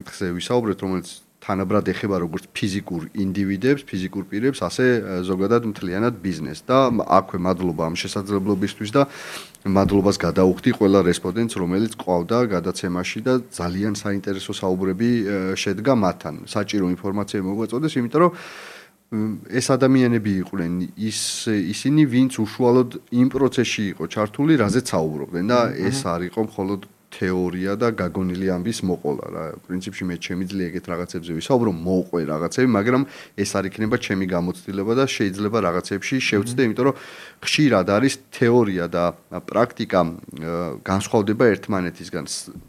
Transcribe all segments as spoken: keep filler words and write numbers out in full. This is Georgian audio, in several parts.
საკითხზე ვისაუბრეთ, რომელიც თანაბრად ეხება როგორც ფიზიკურ ინდივიდებს, ფიზიკურ პირებს, ასე ზოგადად მთლიანად ბიზნესს და აქვე მადლობა ამ შესაძლებლობისთვის და მადლობას გადაუხდი ყველა რესპონდენტს, რომელიც ყავდა გადაცემაში და ძალიან საინტერესო საუბრები შედგა მათთან. საჭირო ინფორმაცია მოგვაწოდეს, იმიტომ რომ ეს ადამიანები იყვნენ ის ისინი, ვინც უშუალოდ იმ პროცესში იყო ჩართული, რაზეც საუბრობდნენ და ეს არ იყო მხოლოდ თეორია და გაგონილი ამბის მოყოლა რა. პრინციპში მე შემიძლია ეგეთ რაღაცებზე ვისაუბრო, მოვყვე რაღაცები, მაგრამ ეს არ იქნება ჩემი გამოცდილება და შეიძლება რაღაცებში შევწდე, იმიტომ რომ ხშირად არის თეორია და პრაქტიკა განსხვავდება ერთმანეთისგან.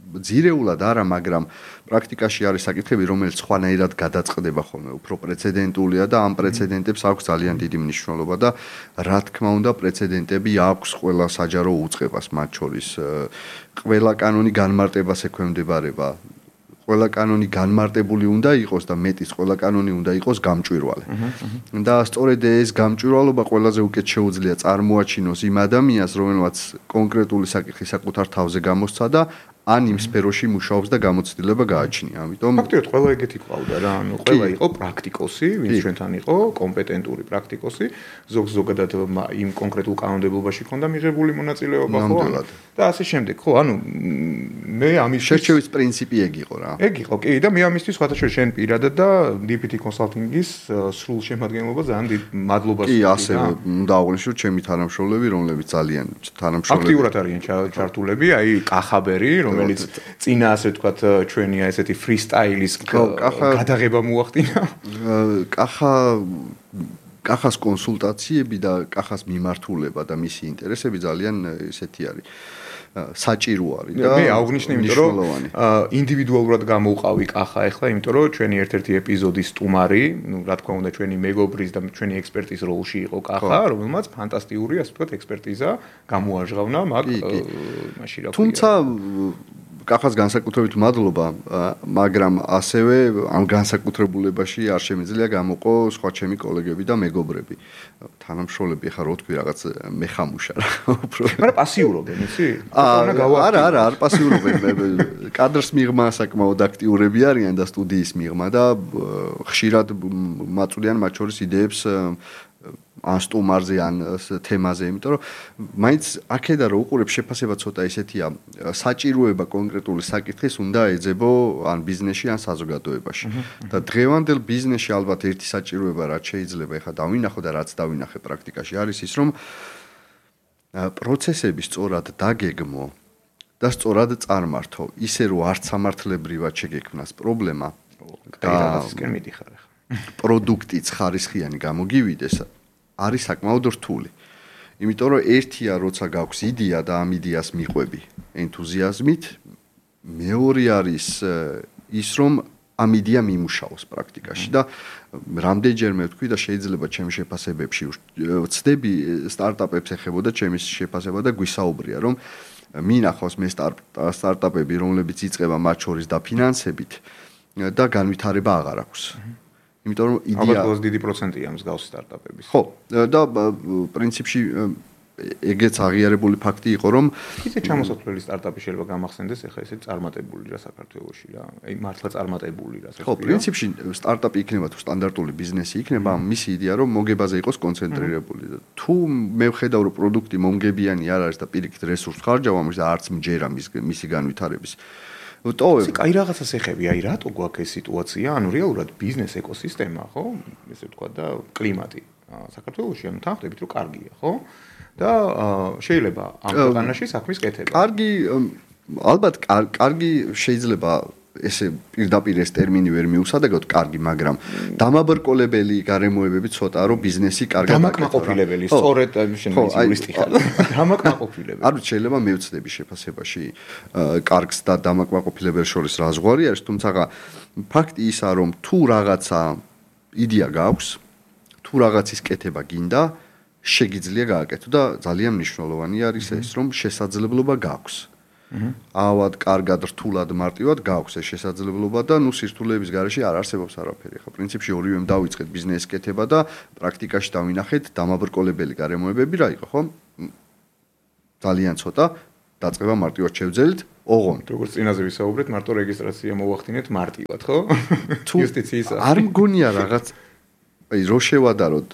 ძირეულად არა, მაგრამ პრაქტიკაში არის საკითხები, რომელიც სხვანაირად გადაწყდება ხოლმე, უფრო პრეცედენტულია და ამ პრეცედენტებს აქვს ძალიან დიდი მნიშვნელობა და რა თქმა უნდა, პრეცედენტები აქვს ყველა საჯარო უწყებას, მათ შორის ყველა კანონი განმარტებას ექვემდებარება. ყველა კანონი განმარტებული უნდა იყოს და მეტის ყველა კანონი უნდა იყოს გამჭვირვალე. და სწორედ ეს გამჭვირვალობა ყველაზე უკეთ შეუძლია წარმოაჩინოს იმ ადამიანს, რომელმაც კონკრეტული საკითხი საკუთარ თავზე გამოსცა და ან იმ სფეროში მუშაობს და გამოცდილება გააჩნია. ამიტომ ფაქტობრივად ყველა ეგეთი ყავდა რა, ანუ ყველა იყო პრაქტიკოსი, ვინც ჩვენთან იყო, კომპეტენტური პრაქტიკოსი, ზოგ ზოგადად იმ კონკრეტულ კანონმდებლობაში ჰქონდა მიღებული მონაწილეობა, ხო? და ასე შემდეგ, ხო, ანუ მე ამის შერჩევის პრინციპი ეგ იყო რა. ეგ იყო, კი, და მე ამისთვის სხვათაშორის შენ პირადად და დი პი ტი Consulting-ის სრულ შემადგენლობა ძალიან დიდ მადლობას ვუხდი. კი, ასე უნდა აღვნიშნო ჩემი თანამშრომლები, რომლებიც ძალიან თანამშრომლები აქტიურად არიან ჩართულები, აი კახაბერი, რომელიც წინა ასე ვთქვათ ჩვენი ესეთი ფრისტაილის გადაღება მოახდინა. კახა კახას კონსულტაციები და კახას მიმართულება და მისი ინტერესები ძალიან ესეთი არის. საჭირო არის და მე აღვნიშნე, იმიტომ რომ ინდივიდუალურად გამოვყავი კახა ახლა, იმიტომ რომ ჩვენი ერთ-ერთი ეპიზოდის სტუმარი, ну, რა თქმა უნდა, ჩვენი მეგობრის და ჩვენი ექსპერტის როლში იყო კახა, რომელმაც ფანტასტიკური, ასე ვთქვათ, ექსპერტიზა გამოაჟღავნა მაგ მაშინ რა ქვია. თუმცა კახას განსაკუთრებით მადლობა, მაგრამ ასევე ამ განსაკუთრებულებაში არ შემიძლია გამოყო სხვა ჩემი კოლეგები და მეგობრები. თანამშრომლები ახლა რო თქვი რაღაც მეხამუშა რა. მაგრამ პასიურობენ, იცი? არა, არა, არ პასიურობენ. კადრს მიღმა საკმაოდ აქტიურები არიან და სტუდიის მიღმა და ხშირად მაწვდიან მათ შორის იდეებს ან სტუმარზე ან თემაზე, იმიტომ რომ მაინც აქედა რო უყურებ შეფასება ცოტა ისეთია, საჭიროება კონკრეტული საკითხის უნდა ეძებო ან ბიზნესში ან საზოგადოებაში. და დღევანდელ ბიზნესში ალბათ ერთი საჭიროება რაც შეიძლება ეხლა დავინახო და რაც დავინახე პრაქტიკაში არის ის, რომ პროცესები სწორად დაგეგმო და სწორად წარმართო, ისე რომ არც სამართლებრივად შეგექმნას პრობლემა და რაღაცისკენ მიდიხარ ახლა. პროდუქტიც ხარისხიანი გამოგივიდეს არის საკმაოდ რთული. იმიტომ რომ ერთია როცა გაქვს იდეა და ამ იდეას მიყვები ენთუზიაზმით, მეორე არის ის რომ ამ იდეა მიმუშაოს პრაქტიკაში და რამდენჯერმე ვთქვი და შეიძლება ჩემი შეფასებებში ვცდები სტარტაპებს ეხებოდა ჩემი შეფასება და გვისაუბრია რომ მინახავს მე სტარტაპები რომლებიც იწყება მათ შორის დაფინანსებით და განვითარება აღარ აქვს. იმიტომ რომ იდეა ალბათ ყველაზე დიდი პროცენტია მსგავსი სტარტაპების. ხო, და პრინციპში ეგეც აღიარებული ფაქტი იყო, რომ ისე ჩამოსათვლელი სტარტაპი შეიძლება გამახსენდეს, ეხლა ესე წარმატებული რა საქართველოში რა. აი მართლა წარმატებული რა. ხო, პრინციპში სტარტაპი იქნება თუ სტანდარტული ბიზნესი იქნება, მისი იდეა რომ მოგებაზე იყოს კონცენტრირებული. თუ მე ვხედავ რომ პროდუქტი მომგებიანი არ არის და პირიქით რესურს ხარჯავ ამის და არც მჯერა მისი განვითარების ტოვებ. აი რაღაცას ეხები, აი რატო გვაქვს ეს სიტუაცია? ანუ რეალურად ბიზნეს ეკოსისტემა, ხო? ესე ვთქვა და კლიმატი საქართველოში ანუ თანხდებით რომ კარგია, ხო? და შეიძლება ამ ქვეყანაში საქმის კეთება. კარგი, ალბათ კარგი შეიძლება ესე პირდაპირ ეს ტერმინი ვერ მიუსადაგოთ კარგი, მაგრამ დამაბრკოლებელი გარემოებები ცოტა რომ ბიზნესი კარგად დამაკმაყოფილებელი, სწორედ შენ იურისტი ხარ. დამაკმაყოფილებელი. არ ვიცი, შეიძლება მევცდები შეფასებაში კარგს და დამაკმაყოფილებელ შორის რა ზღვარი არის, თუმცა ფაქტი ისაა რომ თუ რაღაცა იდეა გაქვს, თუ რაღაცის კეთება გინდა, შეგიძლია გააკეთო და ძალიან მნიშვნელოვანი არის ეს რომ შესაძლებლობა გაქვს. ავად კარგად რთულად მარტივად გაქვს ეს შესაძლებლობა და ნუ სირთულეების გარეშე არ არსებობს არაფერი. ხო, პრინციპში ორივემ დავიწყეთ ბიზნესის კეთება და პრაქტიკაში დავინახეთ დამაბრკოლებელი გარემოებები რა იყო, ხო? ძალიან ცოტა დაწყება მარტივად შევძელით, ოღონდ როგორც წინაზე ვისაუბრეთ, მარტო რეგისტრაცია მოვახდინეთ მარტივად, ხო? იუსტიციის არ მგონია რაღაც აი რო შევადაროთ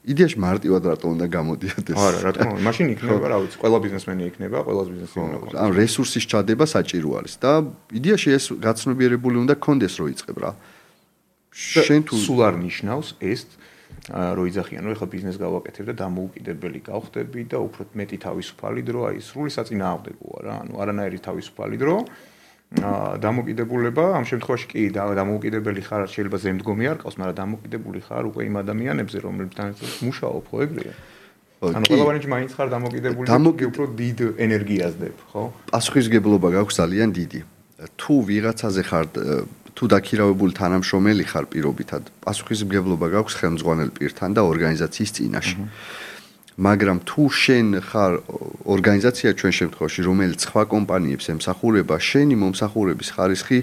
იდეაში მარტივად რატო უნდა გამოდიოდეს? არა, რა თქმა უნდა, მაშინ იქნება, რა ვიცი, ყველა ბიზნესმენი იქნება, ყველა ბიზნესი უნდა ქონდეს. ან რესურსის ჩადება საჭირო არის და იდეაში ეს გაცნობიერებული უნდა კონდეს რო იწყებ რა. შენ თუ სულ არ ნიშნავს ეს რო იძახიან, რომ ეხლა ბიზნეს გავაკეთებ და დამოუკიდებელი გავხდები და უფრო მეტი თავისუფალი დრო, აი სრული საწინააღმდეგოა რა, ანუ არანაირი თავისუფალი დრო. აა დამოუკიდებულება ამ შემთხვევაში კი დამოუკიდებელი ხარ შეიძლება ზემდგომი არ ყავს, მაგრამ დამოუკიდებული ხარ უკვე იმ ადამიანებზე, რომლებთან ერთად მუშაობ, ხო ეგრეა? ანუ ყველავანი მაინც ხარ დამოუკიდებული და უფრო დიდ ენერგიას დებ, ხო? პასუხისმგებლობა გაქვს ძალიან დიდი. თუ ვიღაცაზე ხარ თუ დაქირავებული თანამშრომელი ხარ პირობითად, პასუხისმგებლობა გაქვს ხელმძღვანელ პირთან და ორგანიზაციის წინაშე. მაგრამ თუ შენ ხარ ორგანიზაცია ჩვენ შემთხვევაში, რომელიც სხვა კომპანიებს ემსახურება, შენი მომსახურების ხარისხი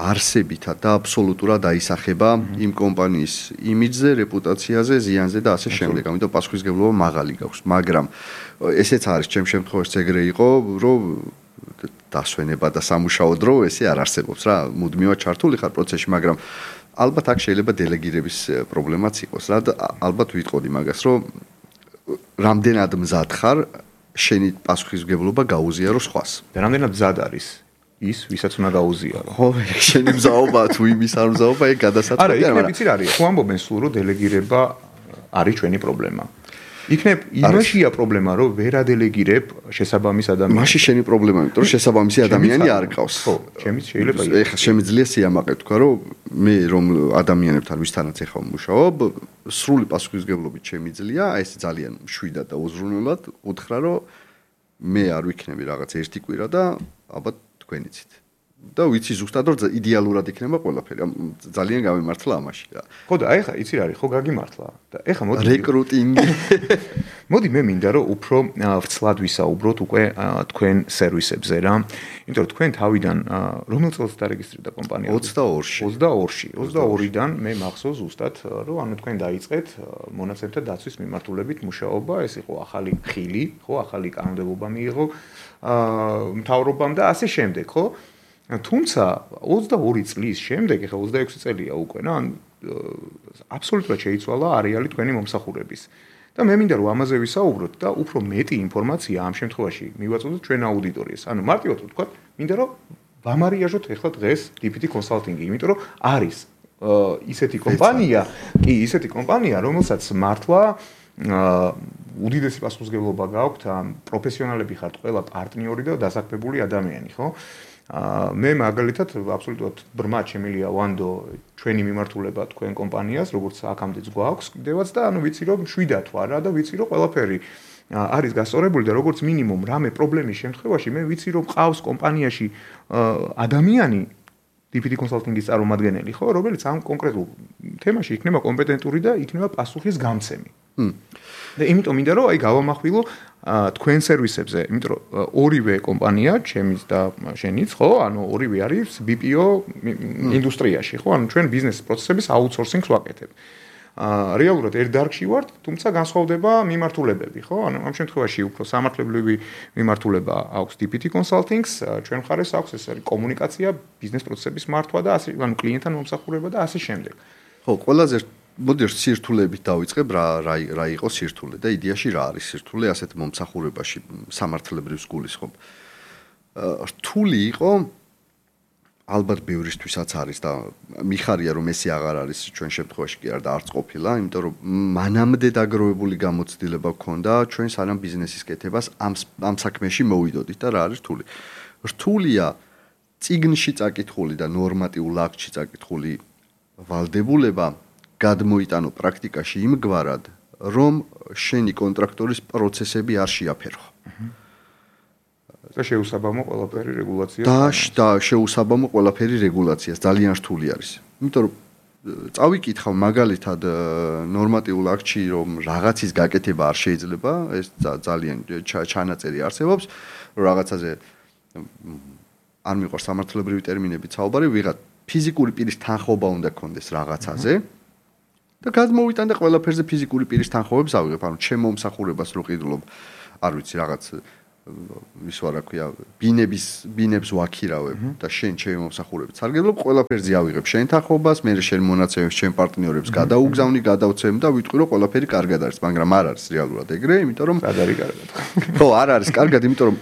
არსებითად და აბსოლუტურად აისახება იმ კომპანიის იმიჯზე, რეპუტაციაზე, ზიანზე და ასე შემდეგ. ამიტომ პასუხისმგებლობა მაღალი გაქვს, მაგრამ ესეც არის ჩემ შემთხვევაში ეგრე იყო, რომ დასვენება და სამუშაო დრო ესე არ არსებობს რა, მუდმივად ჩართული ხარ პროცესში, მაგრამ ალბათ აქ შეიძლება დელეგირების პრობლემაც იყოს რა და ალბათ ვიტყოდი მაგას, რომ რამდენად მზად ხარ შენი პასუხისმგებლობა გაუზიარო სხვას. და რამდენად მზად არის ის, ვისაც უნდა გაუზიარო. ხო, შენი მზაობა თუ იმის არ მზაობა, ეგ გადასაწყვეტია. არა, იქნებ იცი რა არის. თუ ამბობენ სულ რომ დელეგირება არის ჩვენი პრობლემა. იქნებ იმაშია პრობლემა, რომ ვერ ადელეგირებ შესაბამის ადამიანს. მაშინ შენი პრობლემა, იმიტომ რომ შესაბამისი ადამიანი არ გყავს. ხო, ჩემიც შეიძლება იყოს. ეხლა შემიძლია სიამაყე თქვა, რომ მე რომ ადამიანებთან ვისთანაც ეხლა ვმუშაობ, სრული პასუხისმგებლობით შემიძლია, აი ეს ძალიან მშვიდად და უზრუნველად უთხრა, რომ მე არ ვიქნები რაღაც ერთი კვირა და ალბათ თქვენიცით. და ვიცი ზუსტად რომ იდეალურად იქნება ყველაფერი. ძალიან გამემართლა ამაში რა. ხო და აი ხა იცი რა არის, ხო გაგიმართლა. და ეხლა მოდი რეკრუტინგი. მოდი მე მინდა რომ უფრო ვრცლად ვისაუბროთ უკვე თქვენ სერვისებზე რა. იმიტომ რომ თქვენ თავიდან რომელ წელს დარეგისტრირდა კომპანია? ოცდაორში. ოცდაორში. ოცდაორიდან მე მახსოვს ზუსტად რომ ანუ თქვენ დაიწყეთ მონაცემთა დაცვის მიმართულებით მუშაობა, ეს იყო ახალი ხილი, ხო, ახალი კანონმდებლობა მიიღო მთავრობამ და ასე შემდეგ, ხო? თუმცა ოცდაორი წლის შემდეგ, ეხლა ოცდაექვსი წელია უკვე, რა, ანუ აბსოლუტურად შეიცვალა არეალი თქვენი მომსახურების. და მე მინდა რომ ამაზე ვისაუბროთ და უფრო მეტი ინფორმაცია ამ შემთხვევაში მივაწოდოთ ჩვენ აუდიტორიას. ანუ მარტივად ვთქვათ, მინდა რომ ვამარიაჟოთ ეხლა დღეს დი პი ტი Consulting-ი, იმიტომ რომ არის ისეთი კომპანია, კი, ისეთი კომპანია, რომელსაც მართლა უდიდესი პასუხისმგებლობა გაქვთ, პროფესიონალები ხართ ყველა პარტნიორი და დასაქმებული ადამიანი, ხო? მე მაგალითად აბსოლუტურად ბრმად შემილია ვანდო ჩვენი მიმართულება თქვენ კომპანიას, როგორც აქამდეც გვაქვს კიდევაც და ანუ ვიცი რომ შვიდათ ვარ რა და ვიცი რომ ყველაფერი არის გასწორებული და როგორც მინიმუმ რამე პრობლემის შემთხვევაში მე ვიცი რომ ყავს კომპანიაში ადამიანი დი პი ტი Consulting-ის წარმომადგენელი, ხო, რომელიც ამ კონკრეტულ თემაში იქნება კომპეტენტური და იქნება პასუხის გამცემი. და იმიტომ მინდა რომ აი გავამახვილო თქვენ სერვისებზე, იმიტომ რომ ორივე კომპანია, ჩემიც და შენიც, ხო, ანუ ორივე არის ბი პი ო ინდუსტრიაში, ხო, ანუ ჩვენ ბიზნეს პროცესების აუთსორსინგს ვაკეთებ. აა რეალურად ერთ დარგში ვართ, თუმცა განსხვავდება მიმართულებები, ხო? ანუ ამ შემთხვევაში უფრო სამართლებრივი მიმართულება აქვს დი პი ტი Consulting-ს, ჩვენ მხარეს აქვს ეს არის კომუნიკაცია, ბიზნეს პროცესების მართვა და ასე, ანუ კლიენტთან მომსახურება და ასე შემდეგ. ხო, ყველაზე მოდი სირთულეებით დავიწყებ რა რა რა იყო სირთულე და იდეაში რა არის სირთულე ასეთ მომსახურებაში სამართლებრივ გულისხმობ. რთული იყო ალბათ ბევრისთვისაც არის და მიხარია რომ ესე აღარ არის ჩვენ შემთხვევაში კი არ და არც ყოფილა, იმიტომ რომ მანამდე დაგროვებული გამოცდილება გქონდა ჩვენ სანამ ბიზნესის კეთებას ამ ამ საქმეში მოვიდოდით და რა არის რთული. რთულია წიგნში წაკითხული და ნორმატიულ აქტში წაკითხული ვალდებულება გადმოიტანო პრაქტიკაში იმგვარად, რომ შენი კონტრაქტორის პროცესები არ შეაფერხო. და შეუსაბამო ყველაფერი რეგულაციას. და შეუსაბამო ყველაფერი რეგულაციას ძალიან რთული არის. იმიტომ რომ წავიკითხავ მაგალითად ნორმატიულ აქტში რომ რაღაცის გაკეთება არ შეიძლება, ეს ძალიან ჩანაწერი არსებობს, რომ რაღაცაზე არ მიყვარს სამართლებრივი ტერმინებით საუბარი, ვიღაც ფიზიკური პირის თანხმობა უნდა გქონდეს რაღაცაზე. და გადმოვიტან და ყველაფერზე ფიზიკური პირის თანხმობებს ავიღებ, ანუ ჩემ მომსახურებას რო ყიდულობ, არ ვიცი, რაღაც ის რა ქვია, ბინების ბინებს ვაქირავებ და შენ ჩემი მომსახურებით სარგებლობ, ყველაფერზე ავიღებ შენ თანხმობას, მე შენ მონაცემებს ჩემ პარტნიორებს გადაუგზავნი, გადავცემ და ვიტყვი რომ ყველაფერი კარგად არის, მაგრამ არ არის რეალურად ეგრე, იმიტომ რომ არ არის კარგად. ხო, არ არის კარგად, იმიტომ რომ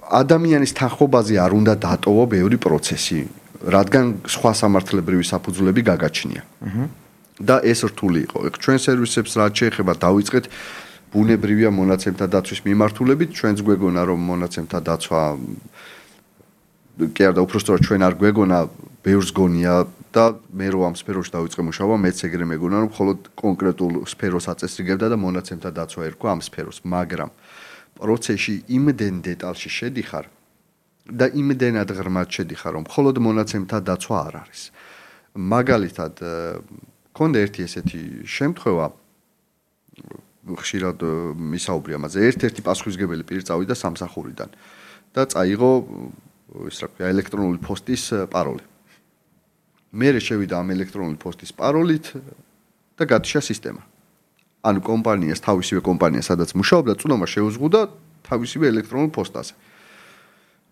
ადამიანის თანხმობაზე არ უნდა დატოვო ბევრი პროცესი, რადგან სხვა სამართლებრივი საფუძვლები გაგაჩნია. და ეს რთული იყო. ჩვენ სერვისებს რაც შეეხება დავიწყეთ ბუნებრივია მონაცემთა დაცვის მიმართულებით, ჩვენც გვეგონა რომ მონაცემთა დაცვა კი არა და უბრალოდ ჩვენ არ გვეგონა, ბევრს გონია და მე რო ამ სფეროში დავიწყე მუშაობა, მეც ეგრე მეგონა რომ მხოლოდ კონკრეტულ სფეროს აწესრიგებდა და მონაცემთა დაცვა ერქვა ამ სფეროს, მაგრამ პროცესში იმდენ დეტალში შედიხარ და იმდენად ღრმად შედიხარ, რომ მხოლოდ მონაცემთა დაცვა არ არის. მაგალითად, მქონდა ერთი ესეთი შემთხვევა, ხშირად მისაუბრე ამაზე, ერთ-ერთი პასუხისმგებელი პირი წავიდა სამსახურიდან და წაიღო ის რა ქვია ელექტრონული პოსტის პაროლი. მე შევიდა ამ ელექტრონული პოსტის პაროლით და გათიშა სისტემა. ანუ კომპანიას, თავისივე კომპანია, სადაც მუშაობდა, წვდომა შეუზღუდა თავისივე ელექტრონულ პოსტაზე.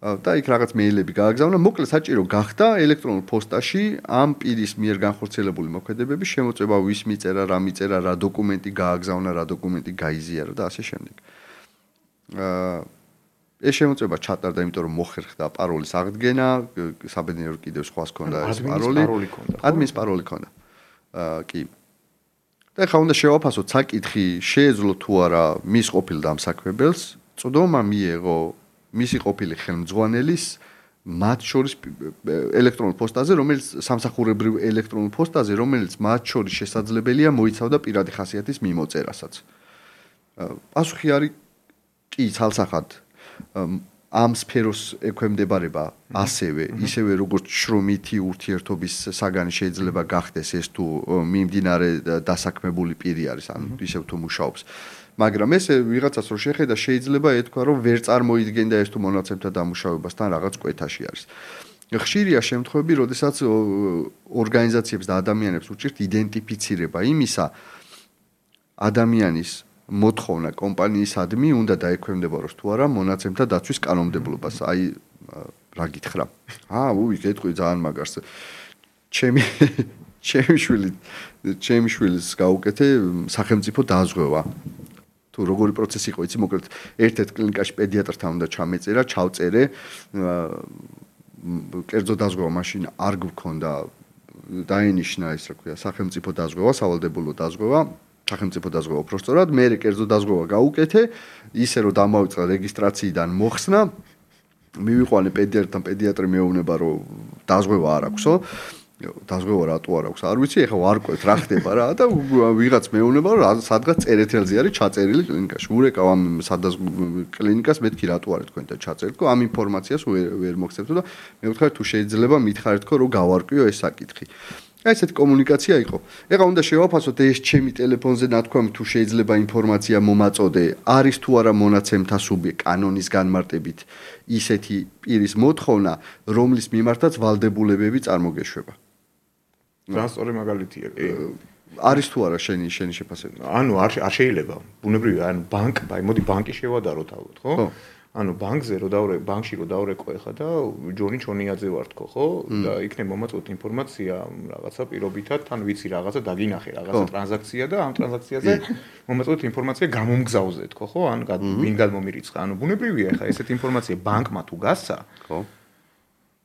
და იქ რაღაც მეილები გააგზავნა, მოკლედ საჭირო გახდა ელექტრონულ პოსტაში ამ პირის მიერ განხორციელებული მოქმედებების შემოწმება, ვის მიწერა, რა მიწერა, რა დოკუმენტი გააგზავნა, რა დოკუმენტი გაიზიარა და ასე შემდეგ. აა ეს შემოწმება ჩატარდა, იმიტომ რომ მოხერხდა პაროლის აღდგენა, საბედნიეროდ კიდევ სხვას ჰქონდა ეს პაროლი. ადმინის პაროლი ჰქონდა. აა კი. და ხა უნდა შევაფასოთ საკითხი, შეეძლო თუ არა მის ყოფილ დამსაქმებელს, წვდომა მიეღო მისი ყოფილი ხელმძღვანელის მათ შორის ელექტრონულ პოსტაზე, რომელიც სამსახურებრივ ელექტრონულ პოსტაზე, რომელიც მათ შორის შესაძლებელია მოიცავდა პირადი ხასიათის მიმოწერასაც. პასუხი არის კი, ცალსახად ამ სფეროს ექვემდებარება ასევე, ისევე როგორც შრომითი ურთიერთობის საგანი შეიძლება გახდეს ეს თუ მიმდინარე დასაქმებული პირი არის, ან ისევ თუ მუშაობს. მაგრამ ეს ვიღაცას რო შეხედა შეიძლება ეთქვა რომ ვერ წარმოიდგენდა ეს თუ მონაცემთა დამუშავებასთან რაღაც კვეთაში არის. ხშირია შემთხვევები, როდესაც ორგანიზაციებს და ადამიანებს უჭირთ იდენტიფიცირება იმისა ადამიანის მოთხოვნა კომპანიისადმი უნდა დაექვემდებაროს თუ არა მონაცემთა დაცვის კანონმდებლობას. აი რა გითხრა? აა, უი, გეტყვი ძალიან მაგარს. ჩემი ჩემი შვილი ჩემი შვილის გაუკეთე სახელმწიფო დაზღვევა. თუ როგორი პროცესი იყო, იცი, მოკლედ ერთ-ერთ კლინიკაში პედიატრთან უნდა ჩამეწერა, ჩავწერე, კერძო დაზღვევა მაშინ არ გქონდა, დაენიშნა ის რა ქვია, სახელმწიფო დაზღვევა, სავალდებულო დაზღვევა, სახელმწიფო დაზღვევა უბრალოდ, მე კერძო დაზღვევა გაუკეთე, ისე რომ დამავიწყდა რეგისტრაციიდან მოხსნა, მივიყვანე პედიატრთან, პედიატრი მეუბნება, რომ დაზღვევა არ აქვსო. დაზღვევა რატო არ აქვს? არ ვიცი, ეხლა ვარკვევთ რა ხდება რა და ვიღაც მეუბნება რომ სადღაც წერეთელზე არის ჩაწერილი კლინიკაში. ურეკავ ამ სადაზღვევო კლინიკას, მეთქი რატო არის თქვენთან ჩაწერილი? ამ ინფორმაციას ვერ მოგცემთ და მე ვთქვი თუ შეიძლება მითხარით თქო რომ გავარკვიო ეს საკითხი. აი ესეთი კომუნიკაცია იყო. ეხლა უნდა შევაფასოთ ეს ჩემი ტელეფონზე ნათქვამი თუ შეიძლება ინფორმაცია მომაწოდე, არის თუ არა მონაცემთა სუბიექტი კანონის განმარტებით ისეთი პირის მოთხოვნა, რომლის მიმართაც ვალდებულებები წარმოგეშვება. ძალიან სწორი მაგალითია, კი. არის თუ არა შენი შენი შეფასება? ანუ არ არ შეიძლება. ბუნებრივია, ანუ ბანკ, აი მოდი ბანკი შევადაროთ ალბათ, ხო? ანუ ბანკზე რო დავრე, ბანკში რო დავრეკო ეხა და ჯონი ჩონიაძე ვარ თქო, ხო? და იქნებ მომაწოდეთ ინფორმაცია რაღაცა პირობითად, თან ვიცი რაღაცა დაგინახე, რაღაცა ტრანზაქცია და ამ ტრანზაქციაზე მომაწოდეთ ინფორმაცია გამომგზავრზე თქო, ხო? ან ვინ გადმომირიცხა. ანუ ბუნებრივია ეხა ესეთი ინფორმაცია ბანკმა თუ გასცა, ხო?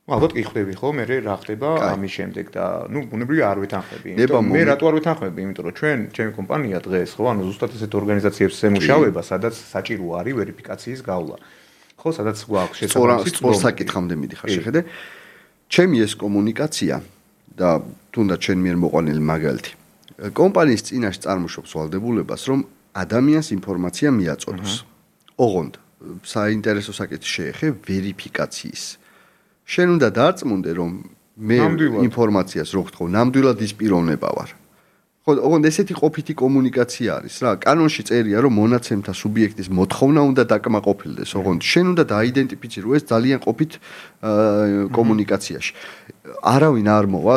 ალბათ კი ხვდები ხო, მე რა ხდება ამის შემდეგ და ნუ ბუნებრივია არ ვეთანხმები. იმიტომ მე რატო არ ვეთანხმები? იმიტომ რომ ჩვენ ჩემი კომპანია დღეს ხო, ანუ ზუსტად ესეთ ორგანიზაციებს ემუშავება, სადაც საჭირო არის ვერიფიკაციის გავლა. ხო, სადაც გვაქვს შესაბამისი სწორ საკითხამდე მიდიხარ, შეხედე. ჩემი ეს კომუნიკაცია და თუნდაც ჩვენ მიერ მოყვანილი მაგალითი. კომპანიის წინაშე წარმოშობს ვალდებულებას, რომ ადამიანს ინფორმაცია მიაწოდოს. ოღონდ საინტერესო საკითხი შეეხე ვერიფიკაციის. შენ უნდა დარწმუნდე, რომ მე ინფორმაციას რო გთხოვ, ნამდვილად ის პიროვნება ვარ. ხო, ოღონდ ესეთი ყოფითი კომუნიკაცია არის რა. კანონში წერია, რომ მონაცემთა სუბიექტის მოთხოვნა უნდა დაკმაყოფილდეს, ოღონდ შენ უნდა დაიდენტიფიცირო ეს ძალიან ყოფით კომუნიკაციაში. არავინ არ მოვა,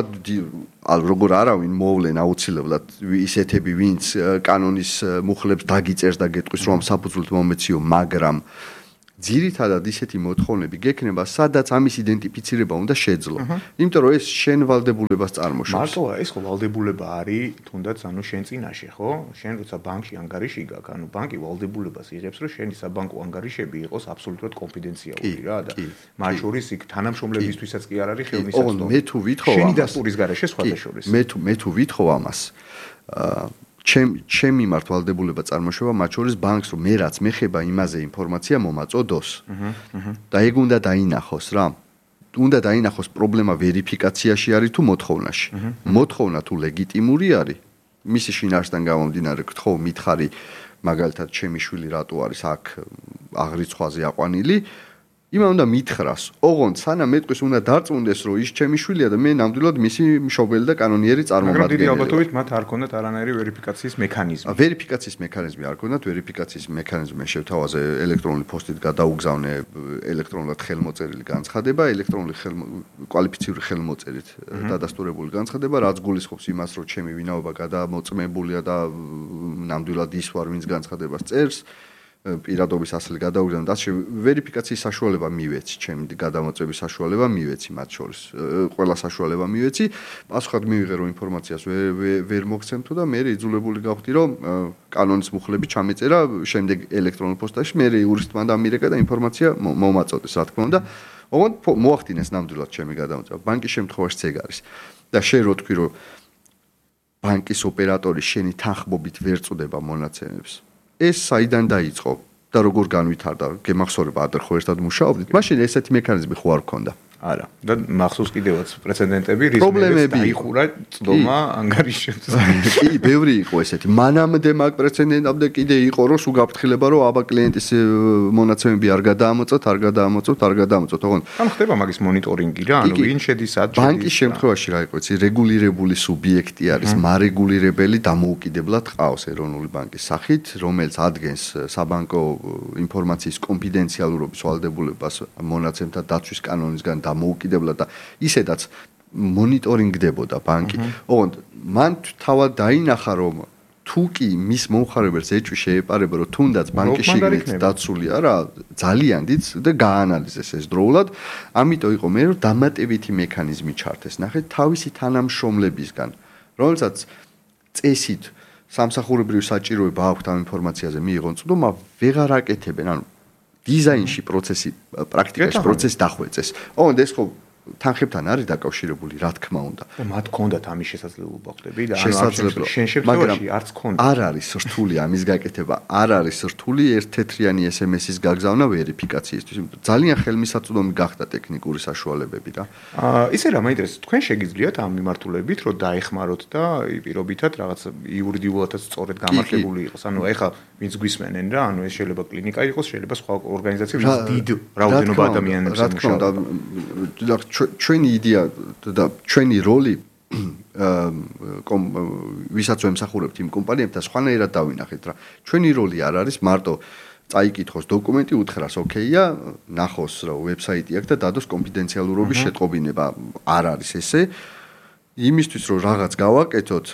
როგორ არავინ მოვლენ აუცილებლად ისეთები, ვინც კანონის მუხლებს დაგიწერს და გეტყვის, რომ ამ საფუძვლად მომეციო, მაგრამ ძირითადად ისეთი მოთხოვნები გექნება, სადაც ამის იდენტიფიცირება უნდა შეძლო. იმიტომ რომ ეს შენ ვალდებულებას წარმოშობს. მარტოა ეს ხო ვალდებულება არის, თუნდაც ანუ შენ წინაშე, ხო? შენ როცა ბანკში ანგარიში გაქვს, ანუ ბანკი ვალდებულებას იღებს, რომ შენი საბანკო ანგარიშები იყოს აბსოლუტურად კონფიდენციალური რა და მათ შორის იქ თანამშრომლებისთვისაც კი არ არის ხელმისაწვდომი. მე თუ ვითხოვ შენი დასტურის გარეშე სხვათა შორის. მე თუ მე თუ ვითხოვ ამას, აა ჩემ ჩემ მიმართ ვალდებულება წარმოშობა მათ შორის ბანკს რომ მე რაც მეხება იმაზე ინფორმაცია მომაწოდოს. და ეგ უნდა დაინახოს რა. უნდა დაინახოს პრობლემა ვერიფიკაციაში არის თუ მოთხოვნაში. მოთხოვნა თუ ლეგიტიმური არის, მისი შინაარსიდან გამომდინარე გთხოვ მითხარი მაგალითად ჩემი შვილი რატო არის აქ აღრიცხვაზე აყვანილი, იმან უნდა მითხრას. ოღონდ სანამ მეტყვის უნდა დარწმუნდეს რომ ის ჩემი შვილია და მე ნამდვილად მისი მშობელი და კანონიერი მაგრამ დიდი წარმომადგენელი. ალბათობით მათ არ ქონდათ არანაირი ვერიფიკაციის მექანიზმი. ვერიფიკაციის მექანიზმი არ ქონდათ, ვერიფიკაციის მექანიზმი შევთავაზე ელექტრონული პოსტით გადაუგზავნე ელექტრონულად ხელმოწერილი განცხადება, ელექტრონული კვალიფიციური ხელმოწერით დადასტურებული განცხადება, რაც გულისხმობს იმას, რომ ჩემი ვინაობა გადამოწმებულია და ნამდვილად ის ვარ, ვინც განცხადებას წერს. პირადობის ასლი გადაუგზავნე და ვერიფიკაციის საშუალება მივეცი, ჩემი გადამოწმების საშუალება მივეცი მათ შორის. ყველა საშუალება მივეცი, პასუხად მივიღე რომ ინფორმაციას ვერ მოგცემ თუ და მე იძულებული გავხდი რომ კანონის მუხლები ჩამეწერა შემდეგ ელექტრონულ პოსტაში, მე იურისტმა დამირეკა და ინფორმაცია მომაწოდეს, რა თქმა უნდა. ოღონდ მოახდინეს ნამდვილად ჩემი გადამოწმება. ბანკის შემთხვევაში ეგ არის. და შენ რო თქვი რომ ბანკის ოპერატორი შენი თანხმობით ვერ წუდება მონაცემებს. ეს საიდან დაიწყო და როგორ განვითარდა? გემახსოვრება ადრე ხო ერთად მუშაობდით? მაშინ ესეთი მექანიზმი ხო არ ქონდა? არა. და მახსოვს კიდევაც პრეცედენტები, რის მერე დაიხურა წდომა ანგარიშებს. კი, ბევრი იყო ესეთი. მანამდე მაგ პრეცედენტამდე კიდე იყო რომ სულ გაფრთხილება რომ აბა კლიენტის მონაცემები არ გადაამოწოთ, არ გადაამოწოთ, არ გადაამოწოთ. ოღონდ ამ ხდება მაგის მონიტორინგი რა, ანუ ვინ შედის ად შედის. ბანკის შემთხვევაში რა იყო, იცი, რეგულირებული სუბიექტი არის, მარეგულირებელი დამოუკიდებლად ყავს ეროვნული ბანკის სახით, რომელიც ადგენს საბანკო ინფორმაციის კონფიდენციალურობის ვალდებულებას მონაცემთა დაცვის კანონისგან დამოუკიდებლად და ისედაც მონიტორინგდებოდა ბანკი. ოღონდ მან თავად დაინახა რომ თუ კი მის მომხარებელს ეჭვი შეეპარება რომ თუნდაც ბანკის შიგნით დაცულია რა, ძალიან დიდ და გაანალიზეს ეს დროულად, ამიტომ იყო მე რომ დამატებითი მექანიზმი ჩართეს. ნახეთ, თავისი თანამშრომლებისგან, რომელსაც წესით სამსახურებრივი საჭიროება აქვთ ამ ინფორმაციაზე მიიღონ წვდომა, ვეღარ აკეთებენ, ანუ დიზაინში პროცესი, პრაქტიკაში პროცესი დახვეწეს. ოღონდ ეს ხო თანხებთან არის დაკავშირებული, რა თქმა უნდა. და მათ ქონდათ ამის შესაძლებლობა ხდები და ანუ შენ შემთხვევაში არც ქონდა. არ არის რთული ამის გაკეთება, არ არის რთული ერთ-თეთრიანი ეს ემ ეს-ის გაგზავნა ვერიფიკაციისთვის. ძალიან ხელმისაწვდომი გახდა ტექნიკური საშუალებები რა. აა ისე რა მაინტერესებს, თქვენ შეგიძლიათ ამ მიმართულებით რომ დაეხმაროთ და პირობითად რაღაც იურიდიულადაც სწორედ გამართლებული იყოს. ანუ ეხლა ვინც გვისმენენ რა, ანუ ეს შეიძლება კლინიკა იყოს, შეიძლება სხვა ორგანიზაცია, ვინც დიდ რაოდენობა ადამიანებს ემუშავება. ჩვენი იდეა და ჩვენი როლი ვისაც ვემსახურებთ იმ კომპანიებთან სხვანაირად დავინახეთ რა. ჩვენი როლი არ არის მარტო წაიკითხოს დოკუმენტი, უთხრას ოკეია, ნახოს რა ვებსაიტი აქვს და დადოს კონფიდენციალურობის შეტყობინება. არ არის ესე. იმისთვის რომ რაღაც გავაკეთოთ,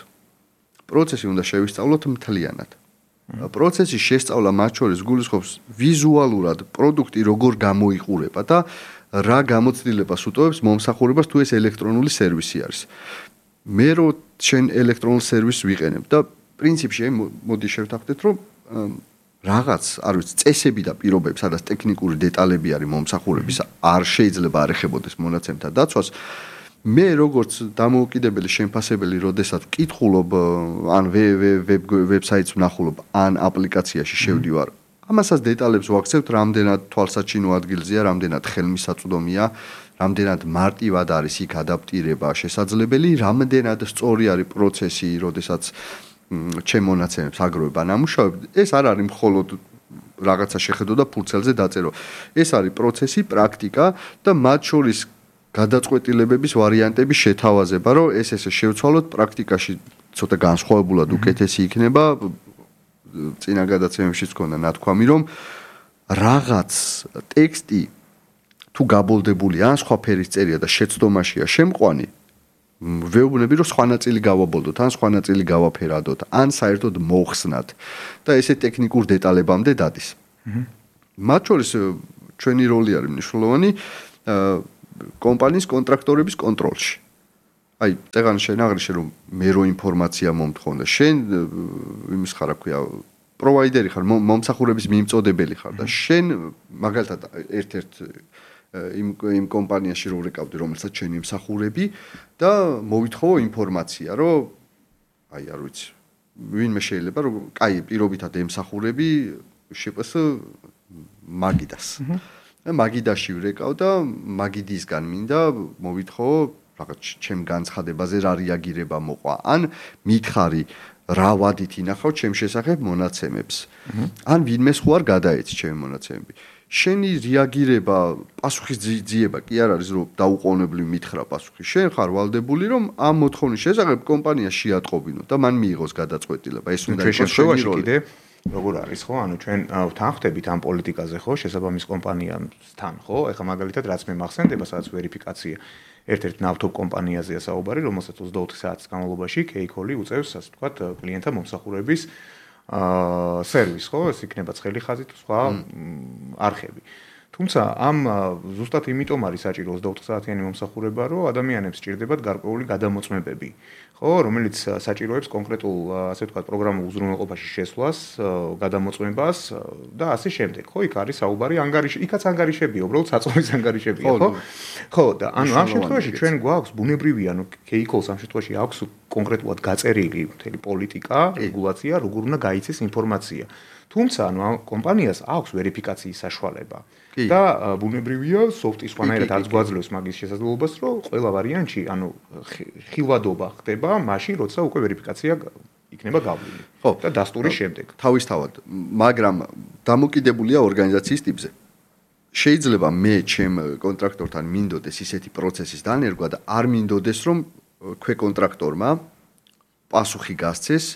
პროცესი უნდა შევისწავლოთ მთლიანად. პროცესის შესწავლა მათ შორის გულისხმობს ვიზუალურად პროდუქტი როგორ გამოიყურება და რა გამოცდილებას უტოვებს მომსახურებას თუ ეს ელექტრონული სერვისი არის. მე რო შენ ელექტრონულ სერვისს ვიყენებ და პრინციპში აი მოდი შევთანხმდეთ რომ რაღაც, არ ვიცი, წესები და პირობები, სადაც ტექნიკური დეტალები არის მომსახურების, არ შეიძლება არ ეხებოდეს მონაცემთა დაცვას. მე როგორც დამოუკიდებელი შემფასებელი, როდესაც ვკითხულობ ან ვებსაიტს ვნახულობ, ან აპლიკაციაში შევდივარ, ამასაც დეტალებს ვაქცევთ, რამდენად თვალსაჩინო ადგილზეა, რამდენად ხელმისაწვდომია, რამდენად მარტივად არის იქ ადაპტირება შესაძლებელი, რამდენად სწორი არის პროცესი, როდესაც ჩემ მონაცემებს აგროვება ნამუშავრები. ეს არ არის მხოლოდ რაღაცა შეხედო და ფურცელზე დაწერო. ეს არის პროცესი, პრაქტიკა და მათ შორის გადაწყვეტილებების ვარიანტების შეთავაზება, რომ ეს ესე შევცვალოთ პრაქტიკაში ცოტა განსხვავებულად უკეთესი იქნება. წინა გადაცემებშიც ქონდა ნათქვამი, რომ რაღაც ტექსტი თუ გაბოლდებული ან სხვა ფერის წერია და შეცდომაშია შემყვანი, ვეუბნები, რომ სხვა ნაწილი გავაბოლდოთ, ან სხვა ნაწილი გავაფერადოთ, ან საერთოდ მოხსნათ და ესე ტექნიკურ დეტალებამდე დადის. მათ შორის ჩვენი როლი არის მნიშვნელოვანი კომპანიის კონტრაქტორების კონტროლში. აი, წეგან შენ აღნიშნე რომ მე რო ინფორმაცია მომთხოვნდა, შენ იმის ხარ, რა ქვია, პროვაიდერი ხარ, მომსახურების მიმწოდებელი ხარ და შენ მაგალითად ერთ-ერთ იმ იმ კომპანიაში რო ვrეკავდი, რომელსაც შენი მსახურები და მოვითხოვო ინფორმაცია, რომ აი, არ ვიცი, ვინმე შეიძლება რომ კაი, პირობითად ემსახურები შპს მაგიდას. და მაგიდაში ვrეკავ და მაგიდისგან მინდა მოვითხოვო რაღაც ჩემ განცხადებაზე რა რეაგირება მოყვა, ან მითხარი რა ვადით ინახავ ჩემ შესახებ მონაცემებს. ან ვინმე სხვა არ გადაეცი ჩემი მონაცემები. შენი რეაგირება, პასუხისძიება კი არ არის რომ დაუყოვნებლივ მითხრა პასუხი. შენ ხარ ვალდებული რომ ამ მოთხოვნის შესახებ კომპანია შეატყობინო და მან მიიღოს გადაწყვეტილება. ეს უნდა იყოს შენი როლი. როგორ არის ხო? ანუ ჩვენ თანხდებით ამ პოლიტიკაზე ხო, შესაბამის კომპანიასთან ხო? ეხლა მაგალითად რაც მე მახსენდება, სადაც ვერიფიკაცია ერთ-ერთ ნავთობ კომპანიაზეა საუბარი, რომელსაც ოცდაოთხი საათის განმავლობაში K-Call უწევს, ასე ვთქვათ, კლიენტთა მომსახურების აა სერვისს, ხო? ეს იქნება ცხელი ხაზი თუ სხვა არხები. თუმცა ამ ზუსტად იმიტომ არის საჭირო ოცდაოთხი საათიანი მომსახურება, რომ ადამიანებს სჭირდებათ გარკვეული გადამოწმებები, ხო, რომელიც საჭიროებს კონკრეტულ, ასე ვთქვათ, პროგრამულ უზრუნველყოფაში შესვლას, გადამოწმებას და ასე შემდეგ. ხო, იქ არის საუბარი ანგარიში, იქაც ანგარიშებია, უბრალოდ საწოლის ანგარიშებია, ხო? ხო, და ანუ ამ შემთხვევაში ჩვენ გვაქვს ბუნებრივია, ანუ K-Call-ს ამ შემთხვევაში აქვს კონკრეტულად გაწერილი მთელი პოლიტიკა, რეგულაცია, როგორ უნდა გაიცეს ინფორმაცია. თუმცა ანუ ამ კომპანიას აქვს ვერიფიკაციის საშუალება. და ბუნებრივია სოფტის სხვანაირად არც გვაძლევს მაგის შესაძლებლობას, რომ ყველა ვარიანტში, ანუ ხილვადობა ხდება მაშინ, როცა უკვე ვერიფიკაცია იქნება გავლილი. ხო, და დასტურის შემდეგ. თავისთავად, მაგრამ დამოკიდებულია ორგანიზაციის ტიპზე. შეიძლება მე ჩემ კონტრაქტორთან მინდოდეს ისეთი პროცესის დანერგვა და არ მინდოდეს რომ ქვეკონტრაქტორმა პასუხი გასცეს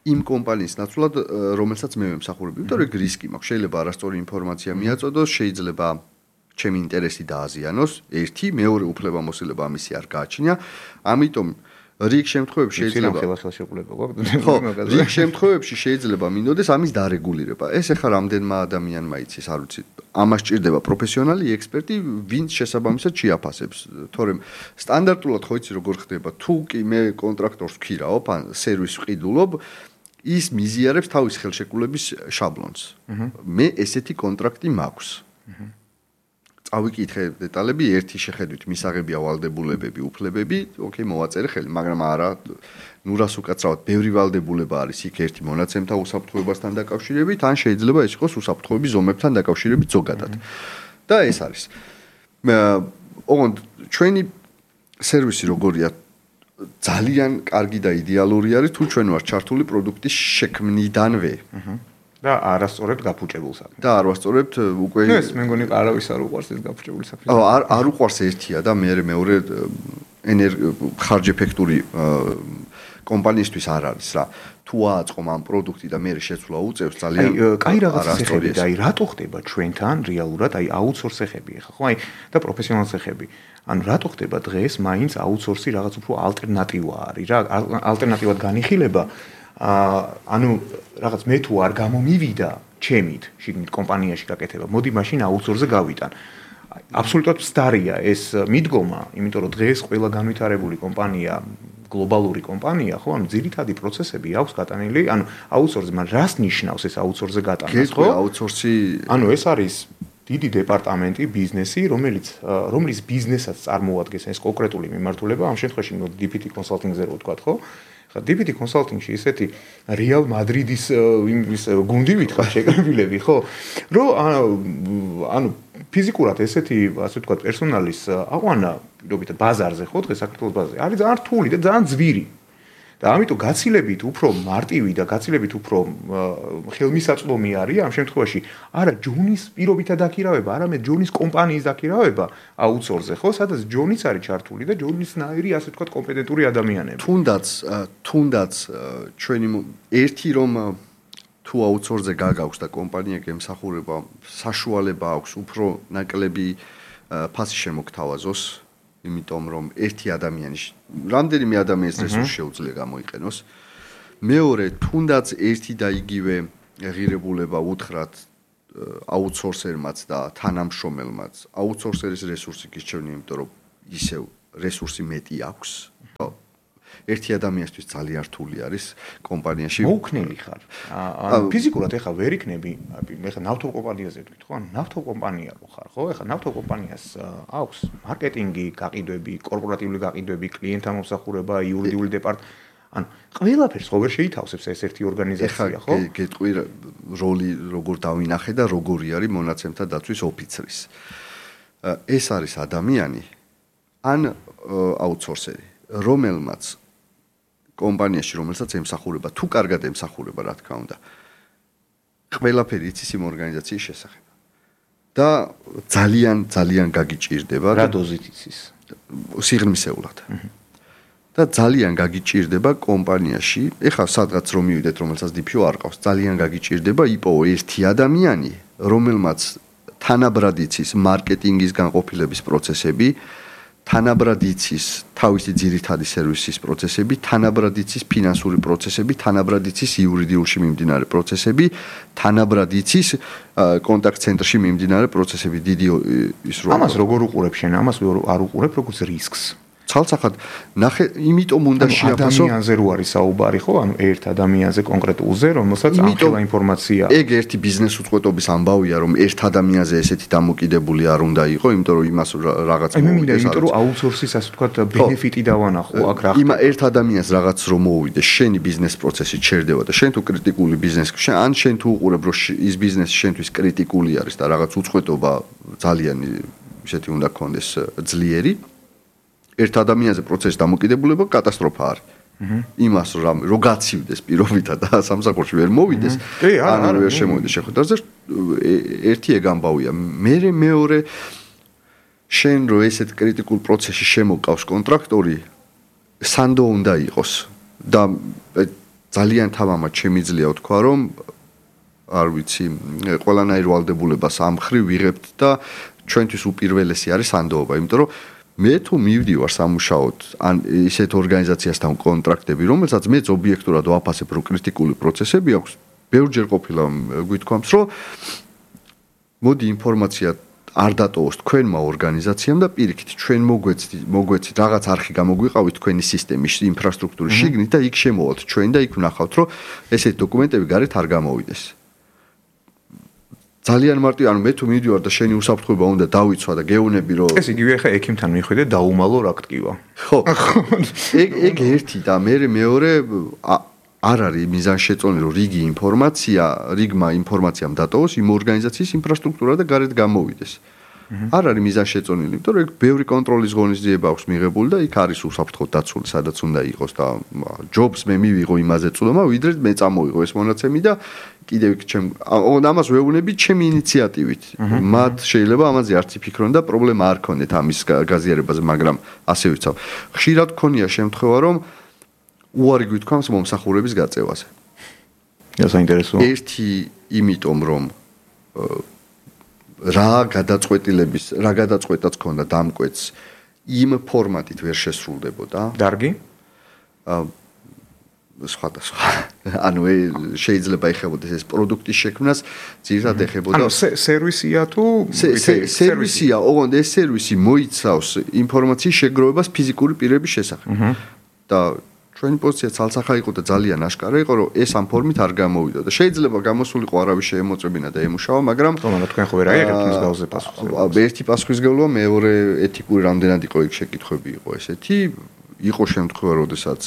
იმ კომპანიის ნაცვლად, რომელსაც მე ვემსახურები, იმიტომ რომ რისკი მაქვს. შეიძლება არასწორი ინფორმაცია მიაწოდოს, შეიძლება ჩემი ინტერესი დააზიანოს, ერთი, მეორე უფლებამოსილება ამისი არ გააჩნია. ამიტომ რიგ შემთხვევებში შეიძლება ხო, რიგ შემთხვევებში შეიძლება მინდოდეს ამის დარეგულირება. ეს ახლა რამდენმა ადამიანმა იცის, არ ვიცი, ამას ჭირდება პროფესიონალი ექსპერტი, ვინც შესაბამისად შეაფასებს. თორემ სტანდარტულად ხო იცი როგორ ხდება, თუ კი მე კონტრაქტორს ვქირავ, ან სერვისს ვყიდულობ, ის მიზიარებს თავის ხელშეკრულების შაბლონს. მე ესეთი კონტრაქტი მაქვს. წავიკითხე დეტალები, ერთი შეხედვით მისაღებია ვალდებულებები, უფლებები, ოკეი, მოვაწერე ხელი, მაგრამ არა, ნუ რას უკაცრავად, ბევრი ვალდებულება არის იქ ერთი მონაცემთა უსაფრთხოებასთან დაკავშირებით, ან შეიძლება ეს იყოს უსაფრთხოების ზომებთან დაკავშირებით ზოგადად. და ეს არის. ოღონდ ჩვენი სერვისი როგორია ძალიან კარგი და იდეალური არის თუ ჩვენ ვართ ჩართული პროდუქტის შექმნიდანვე. და არასწორად გაფუჭებულ საქმე. და არასწორად უკვე ეს მე მგონი არავის არ უყვარს ეს გაფუჭებული საქმე. აა არ არ უყვარს ერთია და მე მეორე ენერგი ხარჯეფექტური კომპანიისთვის არ არის რა. თუ ააწყომ ამ პროდუქტი და მე შეცვლა უწევს ძალიან კაი რაღაც ცეხები და აი რატო ხდება ჩვენთან რეალურად აი აუთსორსეხები ახლა ხო აი და პროფესიონალ ცეხები. ანუ რატო ხდება დღეს მაინც აუთსორსი რაღაც უფრო ალტერნატივა არის რა ალტერნატივად განიხილება აა ანუ რაღაც მე თუ არ გამომივიდა ჩემით შიგნით კომპანიაში გაკეთება მოდი მაშინ აუთსორსზე გავიტან აბსოლუტურად ვსტარია ეს მიდგომა იმიტომ რომ დღეს ყველა განვითარებული კომპანია გლობალური კომპანია ხო ანუ ძირითადი პროცესები აქვს გატანილი ანუ აუთსორსზე მაგრამ რას ნიშნავს ეს აუთსორსზე გატანა ხო აუთსორსი ანუ ეს არის დიდი დეპარტამენტი ბიზნესი რომელიც რომლის ბიზნესაც წარმოადგენს ეს კონკრეტული მიმართულება ამ შემთხვევაში დი პი ტი კონსალტინგზე რო ვთქვა ხო ხა დი პი ტი კონსალტინგში ესეთი რეალ მადრიდის იმის გუნდი ვითხრა შეკრებილები ხო რო ანუ ფიზიკურად ესეთი ასე ვთქვა პერსონალის აყვანა პირობითად ბაზარზე ხო დღეს საქართველოს ბაზარზე არის ძალიან რთული და ძალიან ძვირი და ამიტომ გაცილებით უფრო მარტივი და გაცილებით უფრო ხელმისაწვდომი არის ამ შემთხვევაში არა ჯონის პირობითად დაქირავება, არამედ ჯონის კომპანიის დაქირავება აუთსორსზე, ხო, სადაც ჯონიც არის ჩართული და ჯონისნაირი ასე ვთქვათ კომპეტენტური ადამიანები. თუნდაც თუნდაც ჩვენი ერთი რომ თუ აუთსორსზე გაგაქვს და კომპანია გემსახურება, საშუალება აქვს უფრო ნაკლები ფასი შემოგთავაზოს იმიტომ რომ ერთი ადამიანი რამდენიმე ადამიანის რესურსი შეუძლია გამოიყენოს მეორე თუნდაც ერთი და იგივე ღირებულება უთხრათ აუთსორსერმაც და თანამშრომელმაც აუთსორსერის რესურსი გირჩევნია, იმიტომ რომ ისევ რესურსი მეტი აქვს. ერთი ადამიანისთვის ძალიან რთული არის კომპანიაში. მოუქნელი ხარ. ანუ ფიზიკურად ეხლა ვერ იქნები, მე ხა ნავთობ კომპანიაზე ვთქვით, ხო? ანუ ნავთობ კომპანია რო ხარ, ხო? ეხლა ნავთობ კომპანიას აქვს მარკეტინგი, გაყიდვები, კორპორატიული გაყიდვები, კლიენტთა მომსახურება, იურიდიული დეპარტამენტი. ანუ ყველაფერს ხო ვერ შეითავსებს ეს ერთი ორგანიზაცია, ხო? ეხლა გეტყვი როლი როგორ დავინახე და როგორი არის მონაცემთა დაცვის ოფიცრის. ეს არის ადამიანი ან აუთსორსერი, რომელმაც კომპანიაში, რომელსაც ემსახურება, თუ კარგად ემსახურება, რა თქმა უნდა, ყველაფერი იცის იმ ორგანიზაციის შესახებ. და ძალიან ძალიან გაგიჭირდება რა დოზით იცის? სიღრმისეულად. და ძალიან გაგიჭირდება კომპანიაში, ეხლა სადღაც რომ მივიდეთ, რომელსაც დიფიო არ ყავს, ძალიან გაგიჭირდება იპოვო ერთი ადამიანი, რომელმაც თანაბრად იცის მარკეტინგის განყოფილების პროცესები, თანაბრად იცის თავისი ძირითადი სერვისის პროცესები, თანაბრად იცის ფინანსური პროცესები, თანაბრად იცის იურიდიულში მიმდინარე პროცესები, თანაბრად იცის კონტაქტ ცენტრში მიმდინარე პროცესები. დიდი ის რო ამას როგორ უყურებ შენ? ამას არ უყურებ როგორც რისკს. ცალსახად ნახე, იმიტომ უნდა შეაფასო ადამიანზე რო არის საუბარი, ხო? ანუ ერთ ადამიანზე კონკრეტულზე, რომელსაც ამხელა ინფორმაცია. ეგ ერთი ბიზნეს უწყვეტობის ამბავია, რომ ერთ ადამიანზე ესეთი დამოკიდებული არ უნდა იყო, იმიტომ რომ იმას რაღაც მოუვიდეს. აი მე მინდა, იმიტომ რომ აუთსორსის ასე ვთქვათ ბენეფიტი დავანახო აქ რა. იმა ერთ ადამიანს რაღაც რომ მოუვიდეს, შენი ბიზნეს პროცესი ჩერდება და შენ თუ კრიტიკული ბიზნესი, ან შენ თუ უყურებ, რომ ის ბიზნესი შენთვის კრიტიკული არის და რაღაც უწყვეტობა ძალიან ისეთი უნდა გქონდეს ძლიერი. ერთ ადამიანზე პროცესის დამოკიდებულება კატასტროფა არის. იმას რომ რო გაცივდეს პირობითა და სამსახურში ვერ მოვიდეს, ანუ ვერ შემოვიდეს შეხვედრაზე, ერთი ეგ ამბავია. მე მეორე შენ რო ესეთ კრიტიკულ პროცესში შემოყავს კონტრაქტორი, სანდო უნდა იყოს და ძალიან თამამად შემიძლია ვთქვა, რომ არ ვიცი, ყველანაირ ვალდებულებას ამ ხრივ ვიღებთ და ჩვენთვის უპირველესი არის სანდოობა, იმიტომ რომ მე თუ მივდივარ სამუშაოდ ან ისეთ ორგანიზაციასთან კონტრაქტები, რომელსაც მეც ობიექტურად ვაფასებ, რომ კრიტიკული პროცესები აქვს, ბევრჯერ ყოფილა გვითქვამს, რომ მოდი ინფორმაცია არ დატოვოს თქვენმა ორგანიზაციამ და პირიქით ჩვენ მოგვეცით, მოგვეცით რაღაც არხი გამოგვიყავით თქვენი სისტემის, ინფრასტრუქტურის შიგნით და იქ შემოვალთ ჩვენ და იქ ვნახავთ, რომ ესეთი დოკუმენტები გარეთ არ გამოვიდეს. ძალიან მარტივი, ანუ მე თუ მივიდივარ და შენი უსაფრთხოება უნდა დავიცვა და გეუბნები, რომ ეს იგივე ხა ექიმთან მიხვიდე დაუმალო რა გტკივა. ხო. ეგ ეგ ერთი და მე მეორე არ არის მიზანშეწონილი, რომ რიგი ინფორმაცია, რიგმა ინფორმაციამ დატოვოს იმ ორგანიზაციის ინფრასტრუქტურა და გარეთ გამოვიდეს. არ არის მიზანშეწონილი, იმიტომ რომ ეგ ბევრი კონტროლის ღონისძიება აქვს მიღებული და იქ არის უსაფრთხოდ დაცული, სადაც უნდა იყოს და ჯობს მე მივიღო იმაზე წვდომა, ვიდრე მე წამოვიღო ეს მონაცემი და კიდევ იქ ჩემ ამას ვეუბნები ჩემი ინიციატივით. მათ შეიძლება ამაზე არც იფიქრონ და პრობლემა არ ქონდეთ ამის გაზიარებაზე, მაგრამ ასე ვიცავ. ხშირად ქონია შემთხვევა, რომ უარი გვითქვამს მომსახურების გაწევაზე. ეს საინტერესოა. ერთი იმიტომ რომ რა გადაწყვეტილების, რა გადაწყვეტაც ქონდა დამკვეთს იმ ფორმატით ვერ შესრულდებოდა. დარგი? აა სხვადასხვა. ანუ შეიძლება ეხებოდეს ეს პროდუქტის შექმნას, ძირითადად ეხებოდა. ანუ სერვისია თუ სერვისია, ოღონდ ეს სერვისი მოიცავს ინფორმაციის შეგროვებას ფიზიკური პირების შესახებ. და ჩვენი პოზიცია ცალსახა იყო და ძალიან აშკარა იყო, რომ ეს ამ ფორმით არ გამოვიდა და შეიძლება გამოსულიყო არავის შეემოწებინა და ემუშავა, მაგრამ თუმცა თქვენ ხო ვერ აიღებთ მის გავზე პასუხისმგებლობას. ერთი პასუხისმგებლობა, მეორე ეთიკური რამდენად იყო იქ შეკითხვები იყო ესეთი, იყო შემთხვევა, როდესაც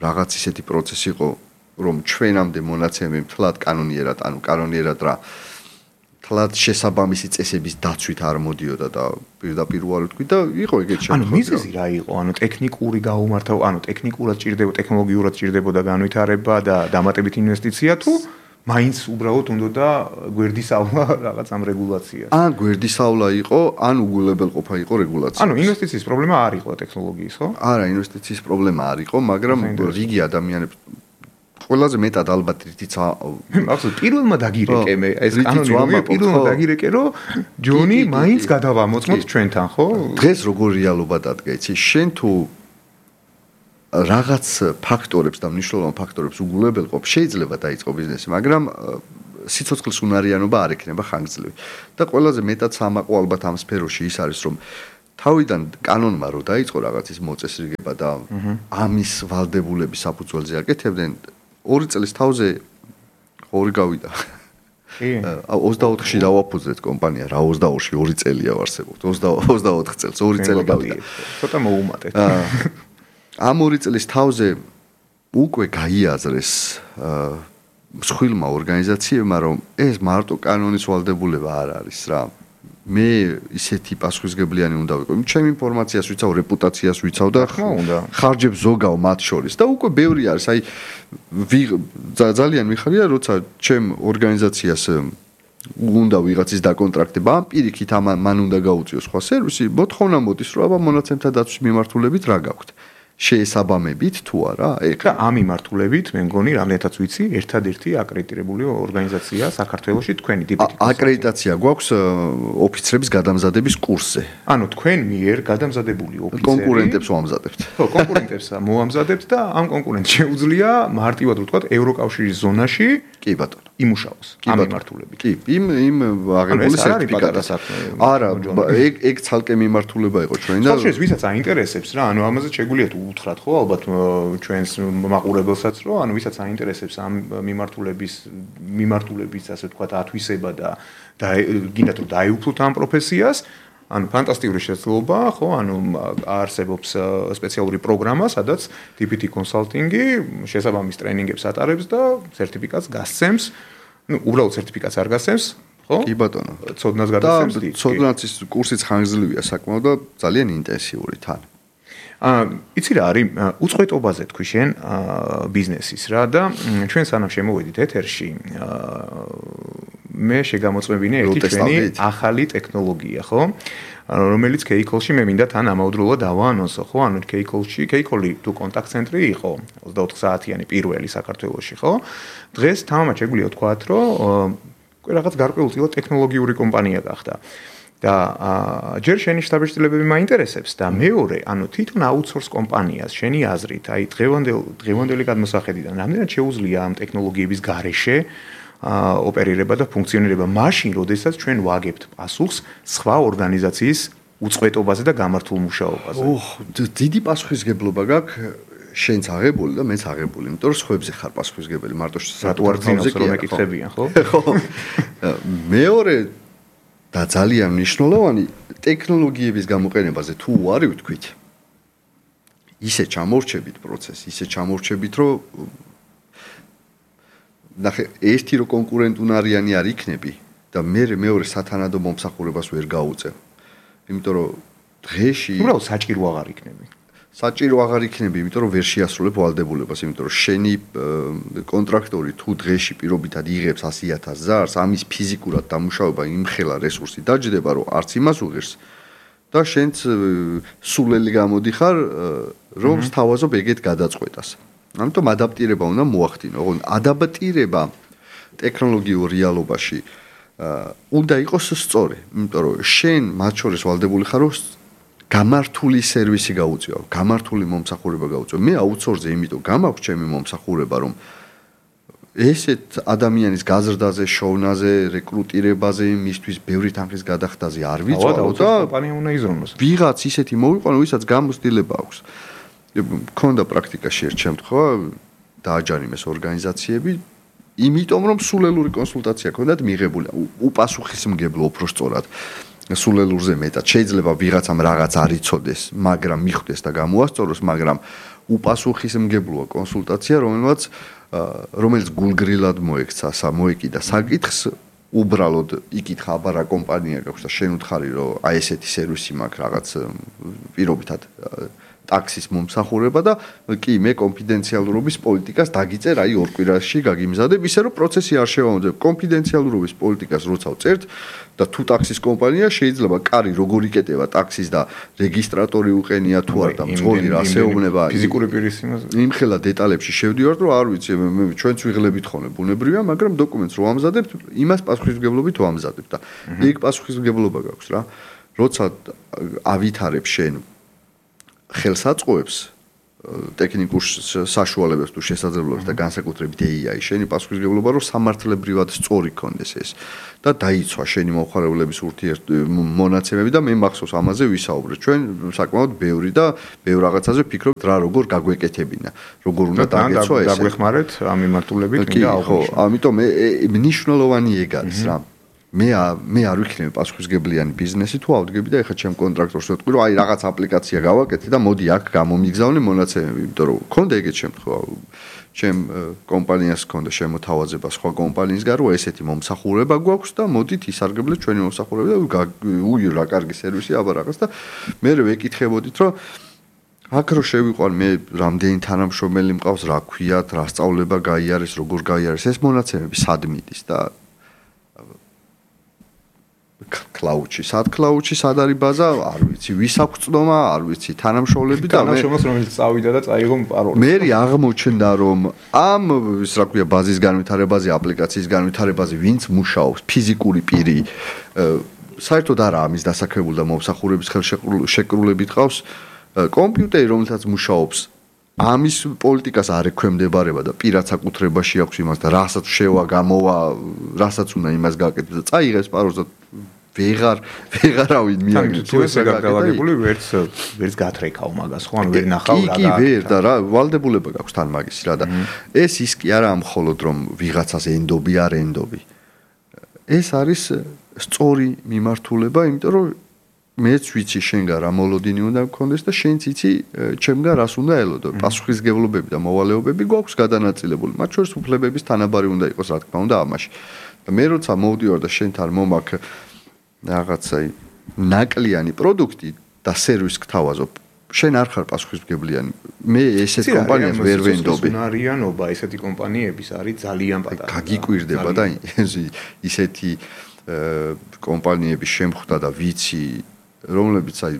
რაღაც ისეთი პროცესი იყო, რომ ჩვენამდე მონაცემები თლად კანონიერად, ანუ კანონიერად რა თლად შესაბამისი წესების დაცვით არ მოდიოდა და პირდაპირ უარი ვთქვი და იყო ეგეთ შემთხვევები. ანუ მიზეზი რა იყო? ანუ ტექნიკური გაუმართავ, ანუ ტექნიკურად ჭირდება, ტექნოლოგიურად ჭირდებოდა განვითარება და დამატებით ინვესტიცია თუ მაინც უბრალოდ უნდოდა გვერდისავლა რაღაც ამ რეგულაციას. ან გვერდისავლა იყო, ან უგულებელყოფა იყო რეგულაცია. ანუ ინვესტიციის პრობლემა არ იყო ტექნოლოგიის, ხო? არა, ინვესტიციის პრობლემა არ იყო, მაგრამ რიგი ადამიანები ყველაზე მეტად ალბათ რითიც ახლა პირველმა დაგირეკე მე ეს კანონი პირველმა დაგირეკე რომ ჯონი მაინც გადავამოწმოთ ჩვენთან ხო? დღეს როგორ რეალობა დადგა იცი? შენ თუ რაღაც ფაქტორებს და მნიშვნელოვან ფაქტორებს უგულებელყოფ, შეიძლება დაიწყო ბიზნესი, მაგრამ სიცოცხლის უნარიანობა არ ექნება ხანგრძლივი. და ყველაზე მეტად სამაყო ალბათ ამ სფეროში ის არის, რომ თავიდან კანონმა რო დაიწყო რაღაც ის მოწესრიგება და ამის ვალდებულების საფუძველზე აკეთებდნენ ორი წლის თავზე ორი გავიდა. კი. ოცდაოთხში დავაფუძნეთ კომპანია, რა ოცდაორში ორი წელია ვარსებობთ. ოცდაოთხ წელს ორი წელი გავიდა. ცოტა მოუმატეთ. ამ ორი წლის თავზე უკვე გაიაზრეს მსხვილმა ორგანიზაციებმა, რომ ეს მარტო კანონის ვალდებულება არ არის რა. მე ისეთი პასუხისგებლიანი უნდა ვიყო. ჩემი ინფორმაციას ვიცავ, რეპუტაციას ვიცავ და ხარჯებს ზოგავ მათ შორის და უკვე ბევრი არის. აი ძალიან მიხარია, როცა ჩემ ორგანიზაციას უნდა ვიღაცის დაკონტრაქტება, ამ პირიქით მან უნდა გაუწიოს სხვა სერვისი, მოთხოვნა მოდის, რომ აბა მონაცემთა დაცვის მიმართულებით რა გაქვთ. შეესაბამებით თუ არა, ეხლა ამ მიმართულებით მე მგონი რამდენადაც ვიცი, ერთადერთი აკრედიტირებული ორგანიზაცია საქართველოში თქვენი ტიპით. აკრედიტაცია გვაქვს ოფიცრების გადამზადების კურსზე. ანუ თქვენ მიერ გადამზადებული ოფიცერი კონკურენტებს ვამზადებთ. ხო, კონკურენტებს მოამზადებთ და ამ კონკურენტს შეუძლია მარტივად რო ვთქვათ, ევროკავშირის ზონაში კი ბატონო, იმუშაოს ამ მიმართულებით. კი, იმ იმ აღებული სერტიფიკატი. არა, ეგ ეგ ცალკე მიმართულება იყო ჩვენი და შეიძლება ვისაც აინტერესებს რა, ანუ ამაზე შეგვიძლია უთხრათ ხო ალბათ ჩვენს მაყურებელსაც რომ ანუ ვისაც აინტერესებს ამ მიმართულების მიმართულების ასე ვთქვათ ათვისება და და გინდათ რომ დაეუფლოთ ამ პროფესიას ანუ ფანტასტიკური შესაძლებლობა ხო ანუ არსებობს სპეციალური პროგრამა სადაც ტი პი ტი კონსალტინგი შესაბამის ტრენინგებს ატარებს და სერტიფიკატს გასცემს ну უბრალოდ სერტიფიკატს არ გასცემს ხო კი ბატონო ცოდნას გადასცემს და ცოდნაცის კურსიც ხანგრძლივია საკმაოდ და ძალიან ინტენსიური თან აა იცი რა არის უწყვეტობაზე თქვი შენ ბიზნესის რა და ჩვენ სანამ შემოვედით ეთერში მე შეგამოწმებინე ერთი ჩვენი ახალი ტექნოლოგია ხო რომელიც K-Call-ში მე მინდა თან ამავდროულად დავაანონსო ხო ანუ K-Call-ში K-Call-ი თუ კონტაქტ ცენტრი იყო ოცდაოთხ საათიანი პირველი საქართველოში ხო დღეს თამამად შეგვიძლია ვთქვათ რომ რაღაც გარკვეულწილად ტექნოლოგიური კომპანია გახდა და ჯერ შენი შტაბ-შტილებები მაინტერესებს და მეორე, ანუ თვითონ აუთსორს კომპანიას, შენი აზრით, აი დღევანდელ დღევანდელი გადმოსახედიდან, რამდენად შეუძლია ამ ტექნოლოგიების გარეშე ოპერირება და ფუნქციონირება მაშინ, როდესაც ჩვენ ვაგებთ პასუხს სხვა ორგანიზაციის უწყვეტობაზე და გამართულ მუშაობაზე. ოჰ, დიდი პასუხისგებლობა გაქვს შენც აღებული და მეც აღებული, იმიტომ რომ სხვებზე ხარ პასუხისგებელი, მარტო რატო არ ძინავს რომ ეკითხებიან, ხო? ხო. მეორე და ძალიან მნიშვნელოვანი ტექნოლოგიების გამოყენებაზე თუ ვარი ვთქვით ისე ჩამორჩებით პროცესი, ისე ჩამორჩებით, რომ ნახე, ერთი რო კონკურენტუნარიანი არ იქნები და მე მეორე სათანადო მომსახურებას ვერ გაუწევ. იმიტომ რომ დღეში უბრალოდ საჭირო აღარ იქნები. საჭირო აღარ იქნები, იმიტომ რომ ვერ შეასრულებ ვალდებულებას, იმიტომ რომ შენი კონტრაქტორი თუ დღეში პირობითად იღებს ასი ათას ზარს, ამის ფიზიკურად დამუშავება იმხელა რესურსი დაჯდება, რომ არც იმას უღირს და შენც სულელი გამოდიხარ, რომ სთავაზობ ეგეთ გადაწყვეტას. ამიტომ ადაპტირება უნდა მოახდინო. ოღონდ ადაპტირება ტექნოლოგიურ რეალობაში უნდა იყოს სწორი, იმიტომ რომ შენ მათ შორის ვალდებული ხარ, რომ გამართული სერვისი გაუწიო, გამართული მომსახურება გაუწიო. მე აუთსორსზე იმიტომ გამაქვს ჩემი მომსახურება, რომ ესეთ ადამიანის გაზრდაზე, შოვნაზე, რეკრუტირებაზე, მისთვის ბევრი თანხის გადახდაზე არ ვიწვავ და კომპანია უნდა იზრუნოს. ვიღაც ისეთი მოვიყვანო, ვისაც გამოცდილება აქვს. მქონდა პრაქტიკაში ერთ შემთხვევა, დააჯარიმეს ორგანიზაციები, იმიტომ რომ სულელური კონსულტაცია ჰქონდათ მიღებული, უპასუხისმგებლო უფრო სწორად. სულელურზე მეტად შეიძლება ვიღაცამ რაღაც არ იცოდეს, მაგრამ მიხვდეს და გამოასწოროს, მაგრამ უპასუხისმგებლოა კონსულტაცია, რომელმაც რომელიც გულგრილად მოექცა, მოეკიდა საკითხს, უბრალოდ იკითხა აბა რა კომპანია გაქვს და შენ უთხარი რომ აი ესეთი სერვისი მაქვს რაღაც პირობითად ტაქსის მომსახურება და კი მე კონფიდენციალურობის პოლიტიკას დაგიწერ აი ორ კვირაში გაგიმზადებ ისე რომ პროცესი არ შევამოწმებ კონფიდენციალურობის პოლიტიკას როცა ვწერთ და თუ ტაქსის კომპანია შეიძლება კარი როგორ იკეტება ტაქსის და რეგისტრატორი უყენია თუ არა და მძღოლი რა შეეუბნება ფიზიკური პირის იმაზე იმხელა დეტალებში შევდივართ რომ არ ვიცი მე ჩვენც ვიღლებით ხოლმე ბუნებრივია მაგრამ დოკუმენტს რო ამზადებთ იმას პასუხისმგებლობით ვამზადებთ და იქ პასუხისმგებლობა გაქვს რა როცა ავითარებ შენ ხელსაწყოებს ტექნიკურ საშუალებებს თუ შესაძლებლობებს და განსაკუთრებით ეი აი შენი პასუხისმგებლობა რომ სამართლებრივად სწორი კონდეს ეს და დაიცვა შენი მომხმარებლების ურთიერთმონაცემები და მე მახსოვს ამაზე ვისაუბრეთ ჩვენ საკმაოდ ბევრი და ბევრ რაღაცაზე ვფიქრობთ რა როგორ გაგვეკეთებინა როგორ უნდა დაგეცვა ეს დაგვეხმარეთ ამ მიმართულებით მინდა აღვნიშნო ამიტომ მნიშვნელოვანი ეგ არის რა მე მე არ ვიქნები პასუხისმგებლიანი ბიზნესი თუ ავდგები და ეხლა ჩემ კონტრაქტორს ვეთქვი რომ აი რაღაც აპლიკაცია გავაკეთე და მოდი აქ გამომიგზავნე მონაცემები იმიტომ რომ მქონდა ეგეთ შემთხვევა ჩემ კომპანიას მქონდა შემოთავაზება სხვა კომპანიის გარო ესეთი მომსახურება გვაქვს და მოდით ისარგებლეთ ჩვენი მომსახურება და უი რა კარგი სერვისი აბა რაღაც და მე ვეკითხებოდით რომ აქ რო შევიყვან მე რამდენი თანამშრომელი მყავს რა ქვიათ რა სწავლება გაიარეს როგორ გაიარეს ეს მონაცემები სად მიდის და კლაუდში, სად კლაუდში, სად არის ბაზა, არ ვიცი, ვის აქვს წდომა, არ ვიცი, თანამშრომლები და მე თანამშრომლს რომელიც წავიდა და წაიღო პაროლი. მე აღმოჩნდა რომ ამ ის რა ქვია ბაზის განვითარებაზე, აპლიკაციის განვითარებაზე ვინც მუშაობს, ფიზიკური პირი, საერთოდ არა ამის დასაქმებული და მომსახურების ხელშეკრულებით ყავს კომპიუტერი, რომელსაც მუშაობს ამის პოლიტიკას არ ექვემდებარება და პირად საკუთრებაში აქვს იმას და რასაც შევა გამოვა, რასაც უნდა იმას გააკეთოს და წაიღებს პაროლს და ვეღარ ვეღარავინ მიაგებს თუ ესე გადავაგებული ვერც ვერც გათრეკავ მაგას ხო ანუ ვერ ნახავ რა კი ვერ და რა ვალდებულება გაქვს თან მაგის რა და ეს ის კი არა მხოლოდ რომ ვიღაცას ენდობი არ ენდობი ეს არის სწორი მიმართულება იმიტომ რომ მეც ვიცი შენგან რა მოლოდინი უნდა გქონდეს და შენც იცი ჩემგან რას უნდა ელოდო პასუხისმგებლობები და მოვალეობები გვაქვს გადანაწილებული მათ შორის უფლებების თანაბარი უნდა იყოს რა თქმა უნდა ამაში და მე როცა მოვდივარ და შენთან მომაქ რაღაცა ნაკლიანი პროდუქტი და სერვისი გთავაზობ შენ არ ხარ პასუხისმგებლიანი მე ესეთ კომპანიას ვერ ვენდობი უნარიანობა ესეთი კომპანიების არის ძალიან პატარა გაგიკვირდება და ისეთი კომპანიების შემხვდა და ვიცი რომლებიც აი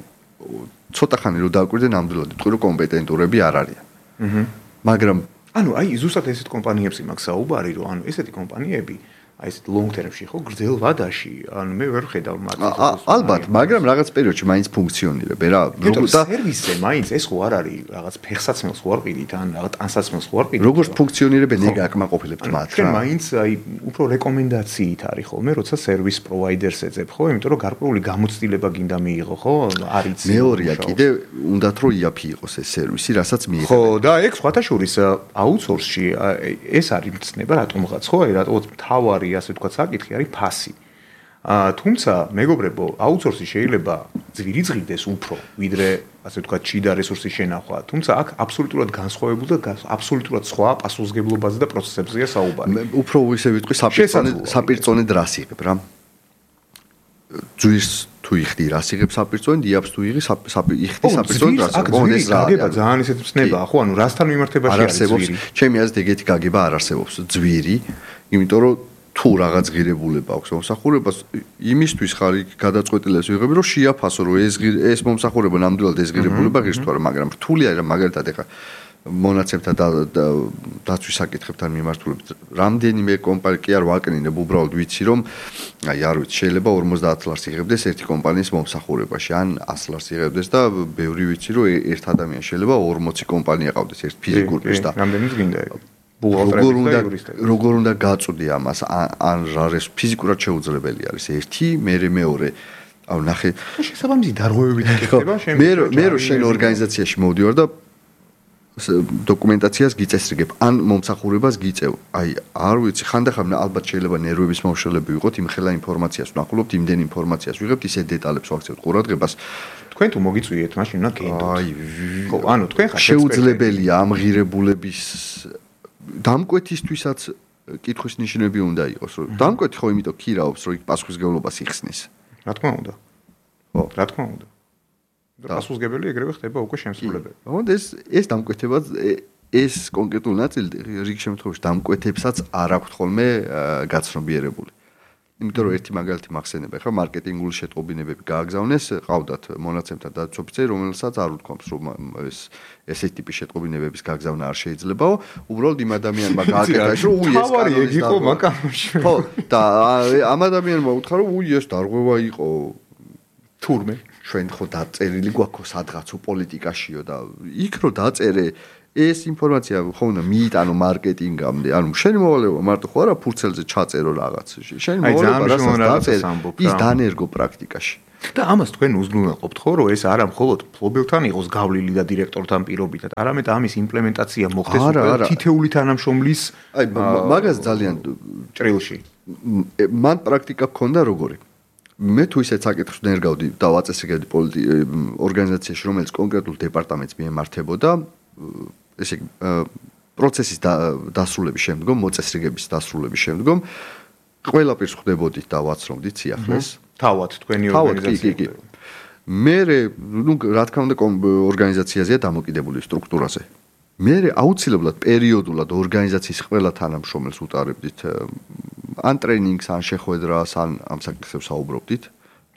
ცოტა ხანი რო დააკვირდე ნამდვილად ვიტყვი რომ კომპეტენტურები არ არიან. აჰა. მაგრამ ანუ აი ზუსტად ესეთ კომპანიებში მაქვს საუბარი რომ ანუ ესეთი კომპანიები აი ეს long term-ში ხო გრძელ ვადაში ანუ მე ვერ ხედავ მათ ალბათ მაგრამ რაღაც პერიოდში მაინც ფუნქციონირებ რა როგორ და სერვისზე მაინც ეს ხო არ არის რაღაც ფეხსაცმელს ხო არ ყიდით ან რაღაც ტანსაცმელს ხო არ ყიდით როგორ ფუნქციონირებენ ეგ აკმაყოფილებთ მათ რა მაინც აი უფრო რეკომენდაციით არის ხოლმე როცა სერვის პროვაიდერს ეძებ ხო იმიტომ რომ გარკვეული გამოცდილება გინდა მიიღო ხო არის მეორეა კიდე უნდათ რომ იაფი იყოს ეს სერვისი რასაც მიიღებ ხო და ეგ სხვათა შორის აუთსორსში ეს არის მცნება რატომღაც ხო აი რატომღაც თავარი ასე თქვა საკითხი არის ფასი. აა თუმცა მეგობრებო, აუთსორსი შეიძლება ძვირი ზღიდეს უფრო, ვიდრე ასე თქვა ჩიდა რესურსის შენახვა. თუმცა აქ აბსოლუტურად განსხვავებული და აბსოლუტურად სხვა პასუხისმგებლობაზე და პროცესებზეა საუბარი. მე უფრო ისე ვიტყვი საპირწონე საპირწონე რას იღებ რა. ძვირს თუ იხდი რას იღებ საპირწონე, დიაბს თუ იღი იხდი საპირწონე რას. ეს გაგება ძალიან ისეთ ცნებაა, ხო, ანუ რასთან მიმართებაში არის ძვირი. ჩემი აზრით ეგეთი გაგება არ არსებობს ძვირი, იმიტომ რომ თუ რაღაც ღირებულება აქვს მომსახურებას იმისთვის ხარ იქ გადაწყვეტილებას ვიღები რომ შეაფასო რომ ეს ეს მომსახურება ნამდვილად ეს ღირებულება ღირს თუ არა მაგრამ რთული არის მაგალითად ეხა მონაცემთა დაცვის საკითხებთან მიმართულებით რამდენიმე კომპანია კი არ ვაკნინებ უბრალოდ ვიცი რომ აი არ ვიცი შეიძლება ორმოცდაათ ლარს იღებდეს ერთი კომპანიის მომსახურებაში ან ას ლარს იღებდეს და ბევრი ვიცი რომ ერთ ადამიანს შეიძლება ორმოცი კომპანია ყავდეს ერთ ფიზიკურ პირს და რამდენიც გინდა როგორ უნდა როგორ უნდა გაწვდი ამას ან რა ეს ფიზიკურად შეუძლებელი არის ერთი მე მეორე აუ ნახე შესაბამისი დარღვევებით იქნება შენ მე მე რო შენ ორგანიზაციაში მოვდივარ და დოკუმენტაციას გიწესრიგებ ან მომსახურებას გიწევ აი არ ვიცი ხანდახან ალბათ შეიძლება ნერვების მომშელები ვიყოთ იმ ხელა ინფორმაციას ვნახულობთ იმდენ ინფორმაციას ვიღებთ ისე დეტალებს ვაქცევთ ყურადღებას თქვენ თუ მოგიწვიეთ მაშინ უნდა გენდოთ აი ხო ანუ თქვენ ხართ შეუძლებელია ამ ღირებულების დამკვეთისთვისაც კითხვის ნიშნები უნდა იყოს რომ დამკვეთი ხო იმიტომ ქირაობს რომ იქ პასუხისმგებლობას იხსნის რა თქმა უნდა ხო რა თქმა უნდა და პასუხისმგებელი ეგრევე ხდება უკვე შემსრულებელი ხო ეს ეს დამკვეთება ეს კონკრეტულ ნაწილი რიგ შემთხვევაში დამკვეთებსაც არ აქვს ხოლმე გაცნობიერებული იმიტომ რომ ერთი მაგალითი მახსენებია ხო მარკეტინგული შეტყობინებები გააგზავნეს ყავდათ მონაცემთა დაცვაფიცერი რომელსაც არ უთქვამს რომ ეს ესეთი ტიპის შეტყობინებების გაგზავნა არ შეიძლებაო უბრალოდ იმ ადამიანმა გააკეთა რომ უი ეს თავარი ეგ იყო მაკამოში ხო და ამ ადამიანმა უთხრა რომ უი ეს დარღვევა იყო თურმე ჩვენ ხო დაწერილი გვაქვს სადღაცო პოლიტიკაშიო და იქ რო დაწერე ეს ინფორმაცია ხო უნდა მიიტანო მარკეტინგამდე. ანუ შენი მოვალეობა მარტო ხო არა ფურცელზე ჩაწერო რაღაც. შენი მოვალეობა რასაც დაწერე ის დანერგო პრაქტიკაში. და ამას თქვენ უზრუნველყოფთ ხო რომ ეს არა მხოლოდ ფლობელთან იყოს გავლილი და დირექტორთან პირობითად, არამედ ამის იმპლემენტაცია მოხდეს უკვე თითეული თანამშრომლის აი მაგას ძალიან ჭრილში. მან პრაქტიკა გქონდა როგორი? მე თუ ისეთ საკითხს ნერგავდი და ვაწესრიგებდი ორგანიზაციაში, რომელიც კონკრეტულ დეპარტამენტს მიემართებოდა, ესე იგი პროცესის დასრულების შემდგომ, მოწესრიგების დასრულების შემდგომ ყველა პირს ხვდებოდით და ვაცნობდით სიახლეს. თავად თქვენი ორგანიზაცია. მე ნუ რა თქმა უნდა ორგანიზაციაზეა დამოკიდებული სტრუქტურაზე. მე აუცილებლად პერიოდულად ორგანიზაციის ყველა თანამშრომელს უტარებდით ან ტრეინინგს, ან შეხვედრას, ან ამ საკითხებს საუბრობდით.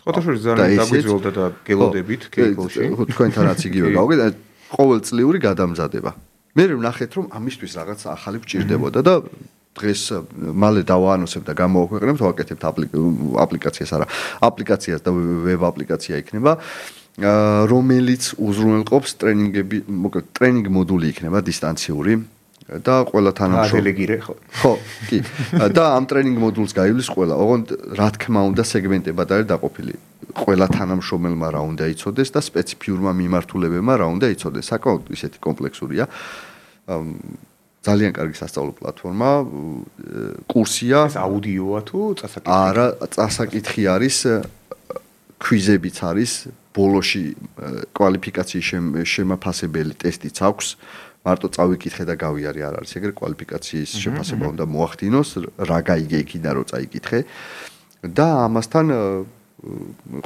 ხოთაშორის ძალიან დაგვიძველდა და გელოდებით კეიკოლში. ხო, თქვენთანაც იგივე გავიგეთ, ყოველწლიური გადამზადება. მე ვნახეთ რომ ამისთვის რაღაც ახალი გვჭირდებოდა და დღეს მალე დავაანონსებ და გამოვაქვეყნებთ, ვაკეთებთ აპლიკაციას, არა, აპლიკაციას და ვებ აპლიკაცია იქნება, რომელიც უზრუნველყოფს ტრენინგები, მოკლედ ტრენინგ მოდული იქნება დისტანციური და ყველა თანამშრომელი ხო. ხო, კი. და ამ ტრენინგ მოდულს გაივლის ყველა. ოღონდ რა თქმა უნდა სეგმენტებად არის დაყოფილი. ყველა თანამშრომელმა რა უნდა იცოდეს და სპეციფიურმა მიმართულებებმა რა უნდა იცოდეს. საკმაოდ ისეთი კომპლექსურია. ძალიან კარგი სასწავლო პლატფორმა, კურსია. ეს აუდიოა თუ წასაკითხი? არა, წასაკითხი არის, ქვიზებიც არის, ბოლოში კვალიფიკაციის შემაფასებელი ტესტიც აქვს. მარტო წავიკითხე და გავიარე არ არის ეგრე კვალიფიკაციის შეფასება უნდა მოახდინოს, რა გაიგე იქიდან რო წაიკითხე. და ამასთან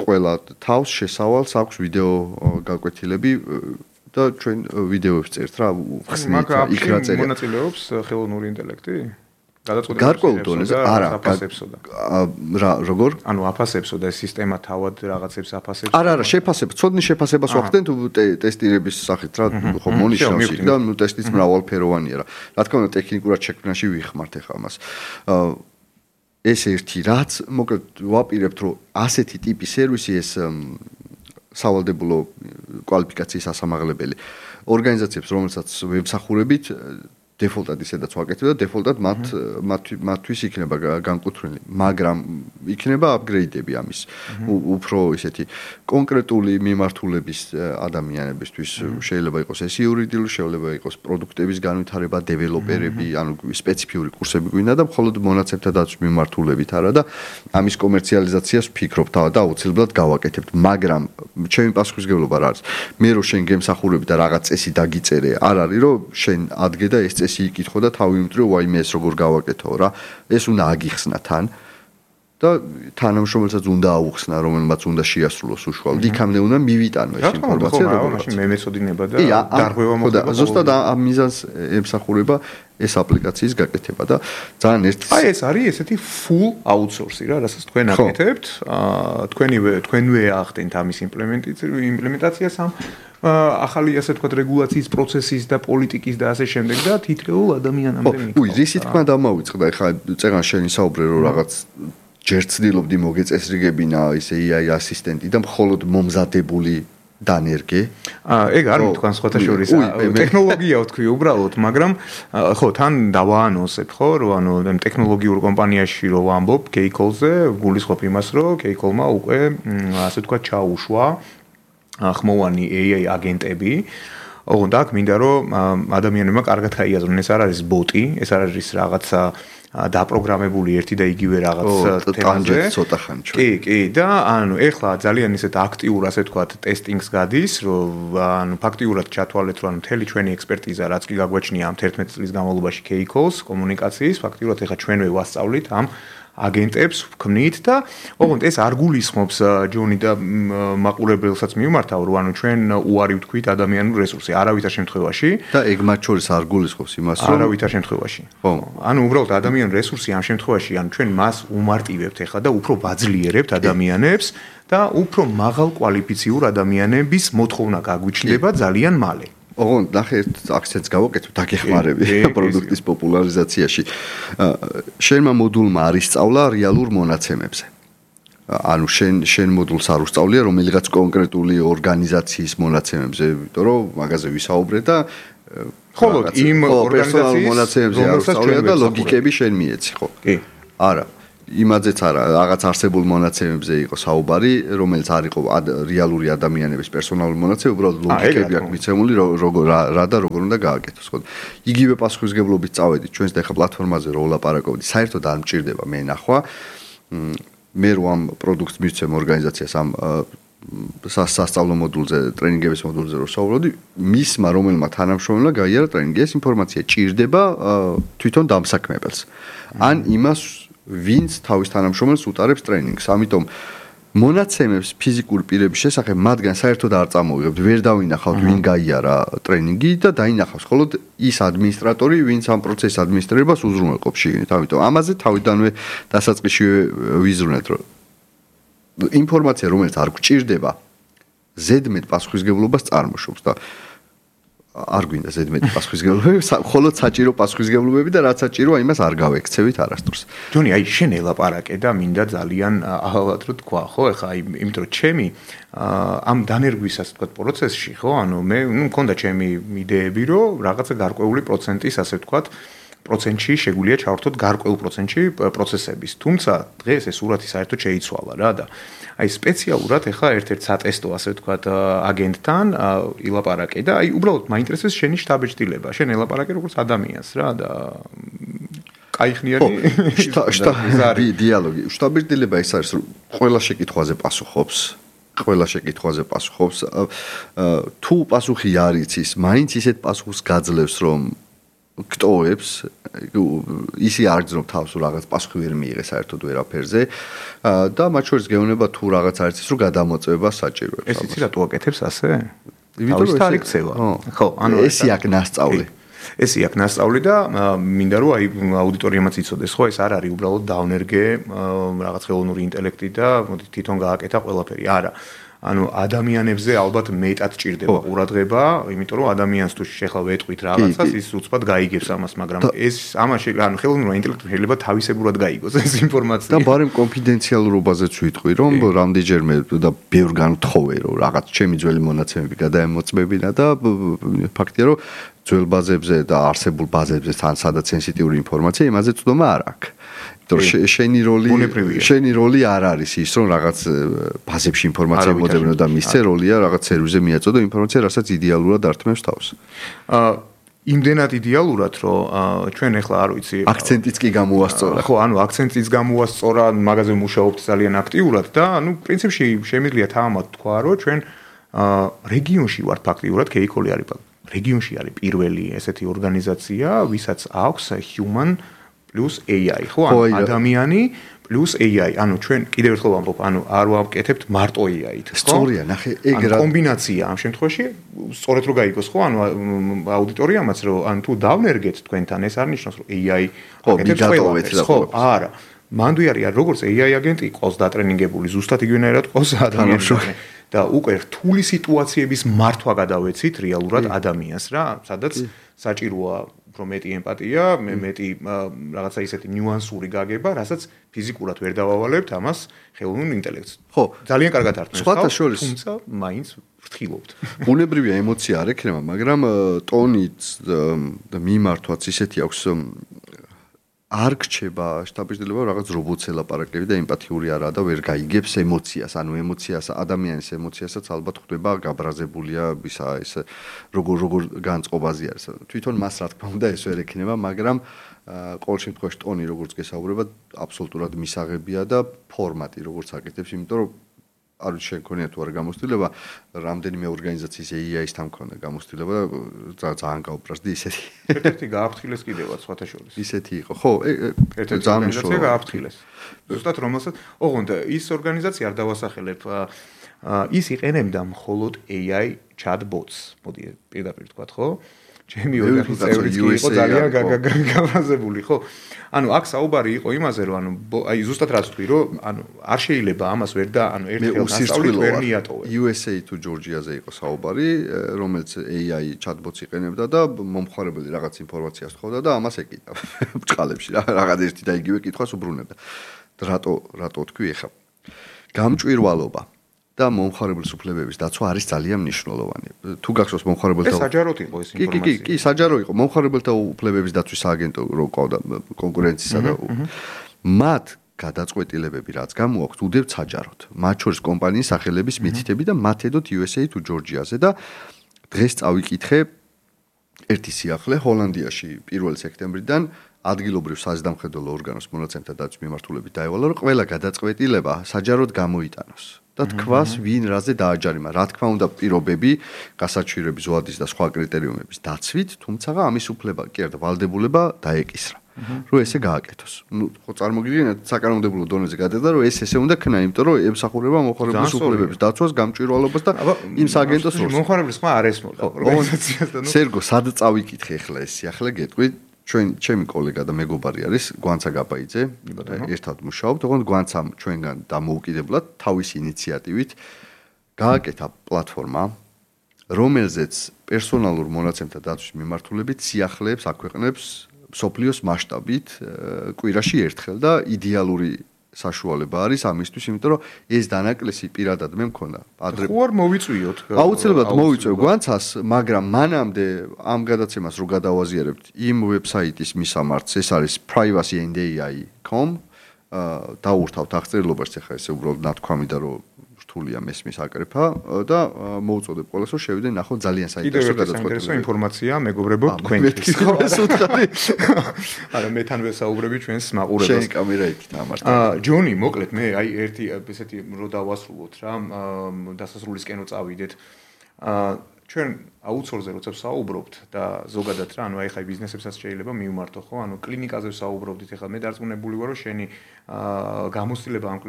ყველა თავს შესავალს აქვს ვიდეო გაკვეთილები და ჩვენ ვიდეოებს წერთ რა, ხსნით იქ რა წერია. მონაწილეობს ხელოვნური ინტელექტი? გადაწყვეტილებას გარკვეულ დონეზე არა, რა, როგორ? ანუ აფასებსო და სისტემა თავად რაღაცებს აფასებს? არა, არა, შეფასება, ცოდნის შეფასებას ვახდენთ ტესტირების სახით რა, ხო მონიშნავს იქ და ნუ ტესტიც მრავალფეროვანია რა. რა თქმა უნდა ტექნიკურად შექმნაში ვიხმართ ახლა მას. ეს ერთი რაც, მოკლედ ვაპირებთ რომ ასეთი ტიპის სერვისი ეს სავალდებულო კვალიფიკაციის ასამაღლებელი ორგანიზაციებს, რომელსაც ვებსახურებით დეფოლტად ისედაც ვაკეთებ და დეფოლტად მათ მათთვის იქნება განკუთვნილი, მაგრამ იქნება აპგრეიდები ამის. უფრო ისეთი კონკრეტული მიმართულების ადამიანებისთვის შეიძლება იყოს ეს იურიდიული, შეიძლება იყოს პროდუქტების განვითარება, დეველოპერები, ანუ სპეციფიური კურსები გვინდა და მხოლოდ მონაცემთა დაცვის მიმართულებით არა და ამის კომერციალიზაციას ვფიქრობ და აუცილებლად გავაკეთებთ, მაგრამ ჩემი პასუხისმგებლობა რა არის? მე რო შენ გემსახურები და რაღაც წესი დაგიწერე, არ არის რომ შენ ადგე და ეს იკითხო და თავი უმტრივ ვაიმე ეს როგორ გავაკეთო რა ეს უნდა აგიხსნა თან და თანამშრომელსაც უნდა აუხსნა რომელმაც უნდა შეასრულოს უშუალოდ იქამდე უნდა მივიტანო ეს ინფორმაცია როგორ მაშინ მე მეცოდინება და დარღვევა მოხდება და ზუსტად ამ მიზანს ემსახურება ეს აპლიკაციის გაკეთება და ძალიან ერთ აი ეს არის ესეთი full outsource რა რასაც თქვენ აკეთებთ თქვენივე თქვენვე ახდენთ ამის იმპლემენტაციას ამ ახალი ასე თქვა რეგულაციის პროცესის და პოლიტიკის და ასე შემდეგ და თითოეულ ადამიანამდე მიკითხავ. უი, რისი თქმა დამოვიწყდა, ეხლა წეგან შენი საუბრე რომ რაღაც ჯერ ცდილობდი მოგეწესრიგებინა ისე ეი აი ასისტენტი და მხოლოდ მომზადებული დანერგე. აა ეგ არ მითქვან სხვათა შორის ტექნოლოგია ვთქვი უბრალოდ, მაგრამ ხო თან დავაანონსებ ხო რომ ანუ ტექნოლოგიურ კომპანიაში რო ვამბობ K-Call-ზე, გულისხმობ იმას რომ K-Call-მა უკვე ასე თქვა ჩაუშვა ხმოვანი ეი აი აგენტები. ოღონდ აქ მინდა რომ ადამიანებმა კარგად გაიაზრონ, ეს არ არის ბოტი, ეს არ არის რაღაცა დაპროგრამებული ერთი და იგივე რაღაც თემაზე. ცოტა ხანი ჩვენ. კი, კი, და ანუ ეხლა ძალიან ისეთ აქტიურ ასე თქვა ტესტინგს გადის, რომ ანუ ფაქტიურად ჩათვალეთ, რომ ანუ მთელი ჩვენი ექსპერტიზა რაც კი გაგვაჩნია ამ თერთმეტი წლის განმავლობაში K-Calls კომუნიკაციის, ფაქტიურად ეხლა ჩვენვე ვასწავლით ამ აგენტებს ვქმნით და ოღონდ ეს არ გულისხმობს ჯონი და მაყურებელსაც მიმართავ რომ ანუ ჩვენ უარი ვთქვით ადამიანურ რესურსზე არავითარ შემთხვევაში და ეგ მათ შორის არ გულისხმობს იმას რომ არავითარ შემთხვევაში ხო ანუ უბრალოდ ადამიანურ რესურსი ამ შემთხვევაში ანუ ჩვენ მას უმარტივებთ ახლა და უფრო ვაძლიერებთ ადამიანებს და უფრო მაღალ კვალიფიციურ ადამიანების მოთხოვნა გაგვიჩნდება ძალიან მალე ოღონდ ნახე აქცენტს გავაკეთებ დაგეხმარები პროდუქტის პოპულარიზაციაში. შენმა მოდულმა არის სწავლა რეალურ მონაცემებზე. ანუ შენ შენ მოდულს არ უსწავლია რომელიღაც კონკრეტული ორგანიზაციის მონაცემებზე, იმიტომ რომ მაგაზე ვისაუბრე და ხოლო იმ ორგანიზაციის მონაცემებზე არ უსწავლია და ლოგიკები შენ მიეცი, ხო? კი. არა. იმაძეც არა, რაღაც არსებულ მონაცემებზე იყო საუბარი, რომელიც არ იყო რეალური ადამიანების პერსონალური მონაცემები, უბრალოდ ლოგიკები აქვს მიცემული, როგორ რა და როგორ უნდა გააკეთოს, ხო? იგივე პასუხისგებლობით წავედით ჩვენს და ხა პლატფორმაზე რო ვლაპარაკობთ, საერთოდ არ მჭირდება მე ნახვა. მე რო ამ პროდუქტს მივცემ ორგანიზაციას ამ სასწავლო მოდულზე, ტრენინგების მოდულზე რო საუბრობდი, მისმა რომელმა თანამშრომელმა გაიარა ტრენინგი, ეს ინფორმაცია ჭირდება თვითონ დამსაქმებელს. ან იმას ვინც თავის თანამშრომელს უტარებს ტრენინგს. ამიტომ მონაცემებს ფიზიკური პირების შესახებ მათგან საერთოდ არ წამოვიღებთ, ვერ დავინახავთ ვინ გაიარა ტრენინგი და დაინახავს მხოლოდ ის ადმინისტრატორი, ვინც ამ პროცესის ადმინისტრირებას უზრუნველყოფს შიგნით. ამიტომ ამაზე თავიდანვე დასაწყისში ვიზრუნეთ, რომ ინფორმაცია, რომელიც არ გვჭირდება, ზედმეტ პასუხისგებლობას წარმოშობს და არ გვინდა ზედმეტი პასუხისგებლობები, მხოლოდ საჭირო პასუხისგებლობები და რაც საჭიროა, იმას არ გავექცევით არასდროს. ჯონი, აი შენ ელაპარაკე და მინდა ძალიან ალბათ რო თქვა, ხო, ეხლა აი იმიტომ რომ ჩემი ამ დანერგვისას თქვა პროცესში, ხო, ანუ მე ნუ მქონდა ჩემი იდეები, რომ რაღაცა გარკვეული პროცენტის, ასე ვთქვათ, პროცენტში შეგვიძლია ჩავართოთ გარკვეულ პროცენტში პროცესების. თუმცა დღეს ეს სურათი საერთოდ შეიცვალა რა და აი სპეციალურად ეხლა ერთ-ერთ სატესტო, ასე ვთქვათ, აგენტთან ილაპარაკე და აი უბრალოდ მაინტერესებს შენი შტაბ-ჭრილება. შენ ელაპარაკე როგორც ადამიანს რა და კაიხნიანი შტაბ დიალოგი. შტაბ-ჭრილება ის არის, რომ ყველა შეკითხვაზე პასუხობს. ყველა შეკითხვაზე პასუხობს. თუ პასუხი არ იცის, მაინც ისეთ პასუხს გაძლევს, რომ გტოვებს, ისი არ გძნობ თავს, რომ რაღაც პასუხი ვერ მიიღე საერთოდ ვერაფერზე და მათ შორის გეუბნება თუ რაღაც არ იცის, რომ გადამოწმება საჭიროებს. ეს იცი რატო აკეთებს ასე? იმიტომ რომ ეს იქცევა. ხო, ანუ ესი აქ ნასწავლი. ესი აქ ნასწავლი და მინდა რომ აი აუდიტორიამაც იცოდეს, ხო, ეს არ არის უბრალოდ დავნერგე რაღაც ხელოვნური ინტელექტი და მოდი თვითონ გააკეთა ყველაფერი. არა. ანუ ადამიანებზე ალბათ მეტად ჭირდება ყურადღება, იმიტომ რომ ადამიანს თუ შეხლა ვეტყვით რაღაცას, ის უცბად გაიგებს ამას, მაგრამ ეს ამაში ანუ ხელოვნური ინტელექტი შეიძლება თავისებურად გაიგოს ეს ინფორმაცია. და ბარემ კონფიდენციალურობაზეც ვიტყვი, რომ რამდენჯერმე და ბევრგან ვთხოვე, რომ რაღაც ჩემი ძველი მონაცემები გადაემოწმებინა და ფაქტია, რომ ძველ ბაზებზე და არსებულ ბაზებზე თან სადაც სენსიტიური ინფორმაცია, იმაზე წვდომა არ აქვს. შენი როლი შენი როლი არ არის ის რომ რაღაც ბაზებში ინფორმაცია მოძებნო და მისცე როლია რაღაც სერვერზე მიაწოდო ინფორმაცია რასაც იდეალურად ართმევს თავს. აა იმდენად იდეალურად რომ ჩვენ ახლა არ ვიცი აქცენტიც კი გამოვასწორა. ხო, ანუ აქცენტიც გამოვასწორა, მაგაზე მუშაობთ ძალიან აქტიურად და ანუ პრინციპში შემიძლია თამამად თქვა რომ ჩვენ რეგიონში ვართ ფაქტიურად კეიკოლი არის რეგიონში არის პირველი ესეთი ორგანიზაცია, ვისაც აქვს human plus A I, ხო, ადამიანი plus A I. ანუ ჩვენ კიდევ ერთხელ ვამბობ, ანუ არ ვაკეთებთ მარტო A I-ით, ხო? სწორია, ნახე, ეგ რა კომბინაცია ამ შემთხვევაში, სწორედ რო გაიგოს, ხო? ანუ აუდიტორიამაც რო ან თუ დავნერგეთ თქვენთან, ეს არ ნიშნავს, რომ A I აკეთებს ყველაფერს, ხო? არა. მანდ არის როგორც A I აგენტი ყავს დატრენინგებული, ზუსტად იგივენაირად ყავს ადამიანს. და უკვე რთული სიტუაციების მართვა გადავეცით რეალურად ადამიანს რა, სადაც საჭიროა უფრო მეტი ემპათია, მეტი რაღაცა ისეთი ნიუანსური გაგება, რასაც ფიზიკურად ვერ დავავალებთ ამას ხელოვნურ ინტელექტს. ხო, ძალიან კარგად ართმევს, თუმცა მაინც ვფრთხილობთ. ბუნებრივია ემოცია არ ექნება, მაგრამ ტონიც და მიმართვაც ისეთი აქვს არ გრჩება შტაბ-ჭრილება რაღაც რობოტს ელაპარაკები და ემპათიური არაა და ვერ გაიგებს ემოციას, ანუ ემოციას, ადამიანის ემოციასაც ალბათ ხვდება გაბრაზებულია ისა ეს როგორ როგორ განწყობაზე არის. თვითონ მას რა თქმა უნდა ეს ვერ ექნება, მაგრამ ყოველ შემთხვევაში ტონი როგორც გესაუბრება, აბსოლუტურად მისაღებია და ფორმატი როგორც აკეთებს, იმიტომ რომ არ ვიცი შენ ქონია თუ არა გამოცდილება, რამდენიმე ორგანიზაციის A I-სთან მქონდა გამოცდილება და ძალიან გაუპრასდი ისეთი. ერთ-ერთი გააფრთხილეს კიდევაც სხვათა შორის. ისეთი იყო. ხო, ერთ-ერთი ორგანიზაცია გააფრთხილეს. ზუსტად რომელსაც, ოღონდ ის ორგანიზაცია არ დავასახელებ, ის იყენებდა მხოლოდ A I chatbots. მოდი პირდაპირ თქვა, ხო? ჩემი ოჯახის წევრიც კი იყო ძალიან გაბრაზებული, ხო? ანუ აქ საუბარი იყო იმაზე, რომ ანუ აი ზუსტად რაც თქვი, რომ ანუ არ შეიძლება ამას ვერ და ანუ ერთხელ დასწავლით ვერ მიატოვე. U S A თუ ჯორჯიაზე იყო საუბარი, რომელიც A I chatbots იყენებდა და მომხმარებელი რაღაც ინფორმაციას თხოვდა და ამას ეკიდა ბჭყალებში რა, რაღაც ერთი და იგივე კითხვას უბრუნებდა. რატო რატო თქვი ეხა? გამჭვირვალობა და მომხმარებლის უფლებების დაცვა არის ძალიან მნიშვნელოვანი. თუ გახსოვს მომხმარებელთა ეს საჯაროდ იყო ეს ინფორმაცია. კი, კი, კი, საჯარო იყო. მომხმარებელთა უფლებების დაცვის სააგენტო ყავდა კონკურენციისა და მათ გადაწყვეტილებები რაც გამოაქვთ უდევთ საჯაროდ. მათ შორის კომპანიის სახელების მითითები და მათ ედოთ იუ ეს ეი თუ ჯორჯიაზე და დღეს წავიკითხე ერთი სიახლე ჰოლანდიაში პირველი სექტემბრიდან ადგილობრივ საზედამხედველო ორგანოს მონაცემთა დაცვის მიმართულებით დაევალა, რომ ყველა გადაწყვეტილება საჯაროდ გამოიტანოს და თქვას ვინ რაზე დააჯარიმა. რა თქმა უნდა, პირობები, გასაჩვირების ზოადის და სხვა კრიტერიუმების დაცვით, თუმცა ამის უფლება კი არა ვალდებულება დაეკისრა. რომ ესე გააკეთოს. ნუ ხო წარმოგიდგენთ საკანონმდებლო დონეზე გადადა რომ ეს ესე უნდა ქნა, იმიტომ რომ ემსახურება მომხმარებლის უფლებების დაცვას, გამჭვირვალობას და იმ სააგენტოს როლს. მომხმარებლის ხმა არ ესმოდა ორგანიზაციას და ნუ სერგო, სად წავიკითხე ახლა ეს სიახლე გეტყვი? ჩვენ ჩემი კოლეგა და მეგობარი არის გვანცა გაბაიძე, ერთად მუშაობთ, ოღონდ გვანცამ ჩვენგან დამოუკიდებლად თავის ინიციატივით გააკეთა პლატფორმა, რომელზეც პერსონალურ მონაცემთა დაცვის მიმართულებით სიახლეებს აქვეყნებს სოფლიოს მასშტაბით კვირაში ერთხელ და იდეალური საშუალება არის ამისთვის, იმიტომ რომ ეს დანაკლისი პირადად მე მქონდა. ადრე ხო არ მოვიწვიოთ. აუცილებლად მოვიწვევ გვანცას, მაგრამ მანამდე ამ გადაცემას რო გადავაზიარებთ იმ ვებსაიტის მისამართს, ეს არის privacy and A I dot com დაურთავთ აღწერილობაში, ახლა ესე უბრალოდ ნათქვამი და რო რთულია მესმის აკრეფა და მოუწოდებ ყველას რომ შევიდე ნახო ძალიან საინტერესო გადაწყვეტილება. საინტერესო ინფორმაცია მეგობრებო თქვენთვის. ხო ეს უთხარი. არა მე თან ვესაუბრები ჩვენს მაყურებელს. შენ კამერა იქით ამართა. აა ჯონი, მოკლედ მე აი ერთი ესეთი რო დავასრულოთ რა, დასასრულისკენ რო წავიდეთ. აა ჩვენ აუთსორსზე როცა ვსაუბრობთ და ზოგადად რა, ანუ აი ხაი ბიზნესებსაც შეიძლება მიუმართო ხო? ანუ კლინიკაზე ვსაუბრობდით, ეხლა მე დარწმუნებული ვარ, რომ შენი აა გამოცდილება ამ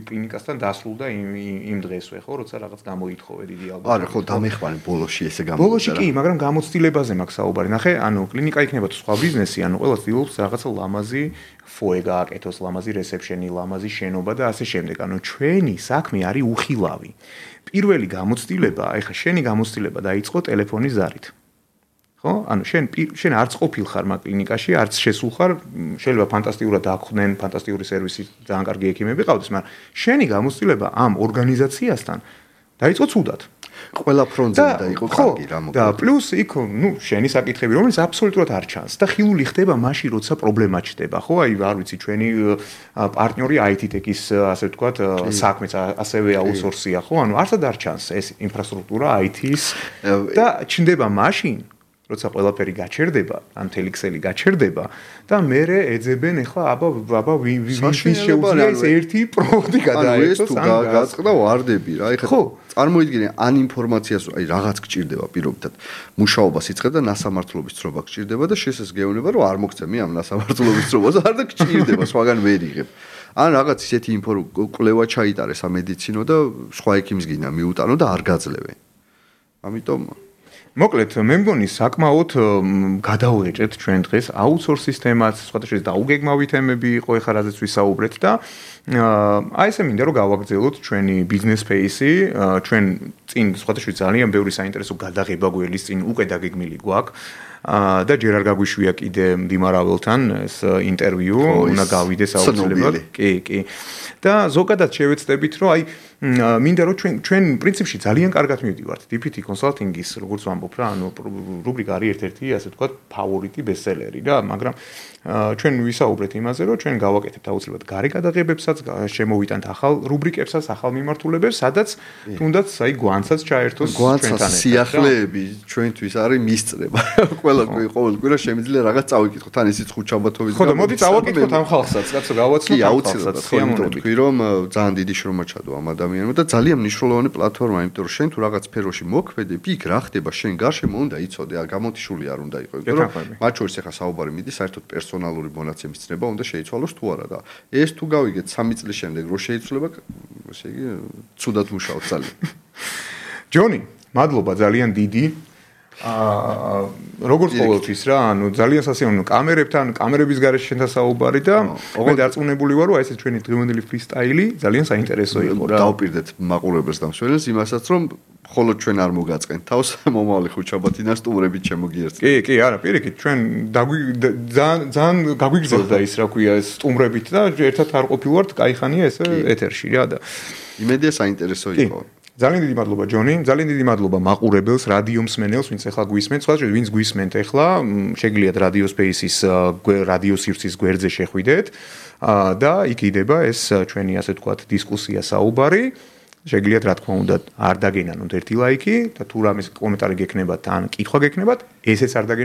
კლინიკასთან დასრულდა იმ იმ დღესვე, ხო, როცა რაღაც გამოითხოვე დიდი ალბათ. არა, ხო, დამეხვანი ბოლოში ესე გამოვიდა. ბოლოში კი, მაგრამ გამოცდილებაზე მაქვს საუბარი. ნახე, ანუ კლინიკა იქნება თუ სხვა ბიზნესი, ანუ ყველა ცდილობს რაღაცა ლამაზი ფოე გააკეთოს, ლამაზი რეცეპშენი, ლამაზი შენობა და ასე შემდეგ. ანუ ჩვენი საქმე არის უხილავი. პირველი გამოცდილება, ეხლა შენი გამოცდილება დაიწყო ტელეფონის ზარით. ხო? ანუ შენ შენ არც ყოფილ ხარ მაგ კლინიკაში, არც შესულ ხარ, შეიძლება ფანტასტიკურად დაახვდნენ, ფანტასტიკური სერვისი, ძალიან კარგი ექიმები ყავდეს, მაგრამ შენი გამოცდილება ამ ორგანიზაციასთან დაიწყო ცუდად. ყველა ფრონტზე დაიყო კარგი რა მოკლედ. და პლუს იქ, ნუ შენი საკითხები, რომელიც აბსოლუტურად არ ჩანს და ხილული ხდება მაშინ, როცა პრობლემა ჩდება, ხო? აი, არ ვიცი, ჩვენი პარტნიორი აი თი ტექის, ასე ვთქვათ, საქმეც ასევე აუთსორსია, ხო? ანუ არსად არ ჩანს ეს ინფრასტრუქტურა აი თის და ჩნდება მაშინ, როცა ყველაფერი გაჩერდება, ან მთელი ქსელი გაჩერდება და მერე ეძებენ ახლა აბა აბა ვის შეუძლია ეს ერთი პროვოდი გადაერთოს ან გაწყდა ვარდები რა. ეხლა წარმოიდგინე ან ინფორმაციას აი რაღაც გჭირდება პირობითად მუშაობას იწყებ და ნასამართლობის ცნობა გჭირდება და შესაძლებლობა რომ არ მოგცემი ამ ნასამართლობის ცნობას არ და გჭირდება სხვაგან ვერ იღებ. ან რაღაც ისეთი ინფო კვლევა ჩაიტარეს ამედიცინო და სხვა ექიმს გინდა მიუტანო და არ გაძლევენ. ამიტომ მოკლედ მე მგონი საკმაოდ გადავეჭეთ ჩვენ დღეს აუთსორს სისტემას, სხვათა შორის დაუგეგმავი თემები იყო ეხლა რაზეც ვისაუბრეთ და აი ესე მინდა რომ გავაგრძელოთ ჩვენი ბიზნეს ფეისი, ჩვენ წინ სხვათა შორის ძალიან ბევრი საინტერესო გადაღება გველის წინ უკვე დაგეგმილი გვაქვს. და ჯერ არ გაგვიშვია კიდე მდიმარაველთან ეს ინტერვიუ, უნდა გავიდეს აუცილებლად. კი, კი. და ზოგადად შევეცდებით, რომ აი მინდა რომ ჩვენ ჩვენ პრინციპში ძალიან კარგად მივდივართ დი პი თი კონსალტინგის, როგორც ვამბობ რა, ანუ რუბრიკა არის ერთ-ერთი, ასე ვთქვათ, ფავორიტი ბესტსელერი რა, მაგრამ ჩვენ ვისაუბრეთ იმაზე, რომ ჩვენ გავაკეთებთ აუცილებლად გარე გადაღებებსაც, შემოვიტანთ ახალ რუბრიკებსაც, ახალ მიმართულებებს, სადაც თუნდაც აი გვანცაც ჩაერთოს ჩვენთან. გვანცას სიახლეები ჩვენთვის არის მისწრება. ყველა ყოველ კვირა შემიძლია რაღაც წავიკითხოთ, თან ისიც ხუთშაბათობით. ხო და მოდი წავაკითხოთ ამ ხალხსაც, კაცო, გავაცნოთ ამ ხალხსაც. ხო, თქვი რომ ძალიან დიდი შრომა ჩადო ამ ადამიანმა და ძალიან მნიშვნელოვანი პლატფორმა, იმიტომ რომ შენ თუ რაღაც სფეროში მოქმედებ, იქ რა ხდება შენ გარშემო უნდა იცოდე, გამოტიშული არ უნდა იყოს, იმიტომ რომ მათ შორის ახლა საუბარი მიდის საერთოდ პერსონალური მონაცემის ცნება უნდა შეიცვალოს თუ არა და ეს თუ გავიგეთ სამი წლის შემდეგ რო შეიცვლება, ესე იგი ცუდად მუშაობ ძალიან. ჯონი, მადლობა ძალიან დიდი. აა როგორც ყოველთვის რა, ანუ ძალიან სასიამოვნო კამერებთან, კამერების გარეშე შენთან საუბარი და მე დარწმუნებული ვარ, რომ აი ეს ჩვენი დღევანდელი ფრისტაილი ძალიან საინტერესო იყო რა. დავპირდეთ მაყურებელს და მსმენელს იმასაც, რომ ხოლო ჩვენ არ მოგაწყენ თავს მომავალი ხუჩაბათინა სტუმრებით შემოგიერთეთ. კი, კი, არა, პირიქით, ჩვენ ძალიან ძალიან გაგვიგზავნა ის, რა ქვია, სტუმრებით და ერთად არ ყოფილვართ, кайხანია ეს ეთერში რა და იმედია საინტერესო იყო. ძალიან დიდი მადლობა ჯონი, ძალიან დიდი მადლობა მაყურებელს, რადიო მსმენელს, ვინც ახლა გვისმენთ, სხვა შეიძლება ვინც გვისმენთ ახლა, შეგიძლიათ რადიო სპეისის რადიო სივრცის გვერდზე შეხვიდეთ და იქ იდება ეს ჩვენი ასე ვთქვათ დისკუსია საუბარი. შეგიძლიათ რა თქმა უნდა არ დაგენანოთ ერთი ლაიქი და თუ რამის კომენტარი გექნებათ ან კითხვა გექნებათ, ესეც არ დაგენანოთ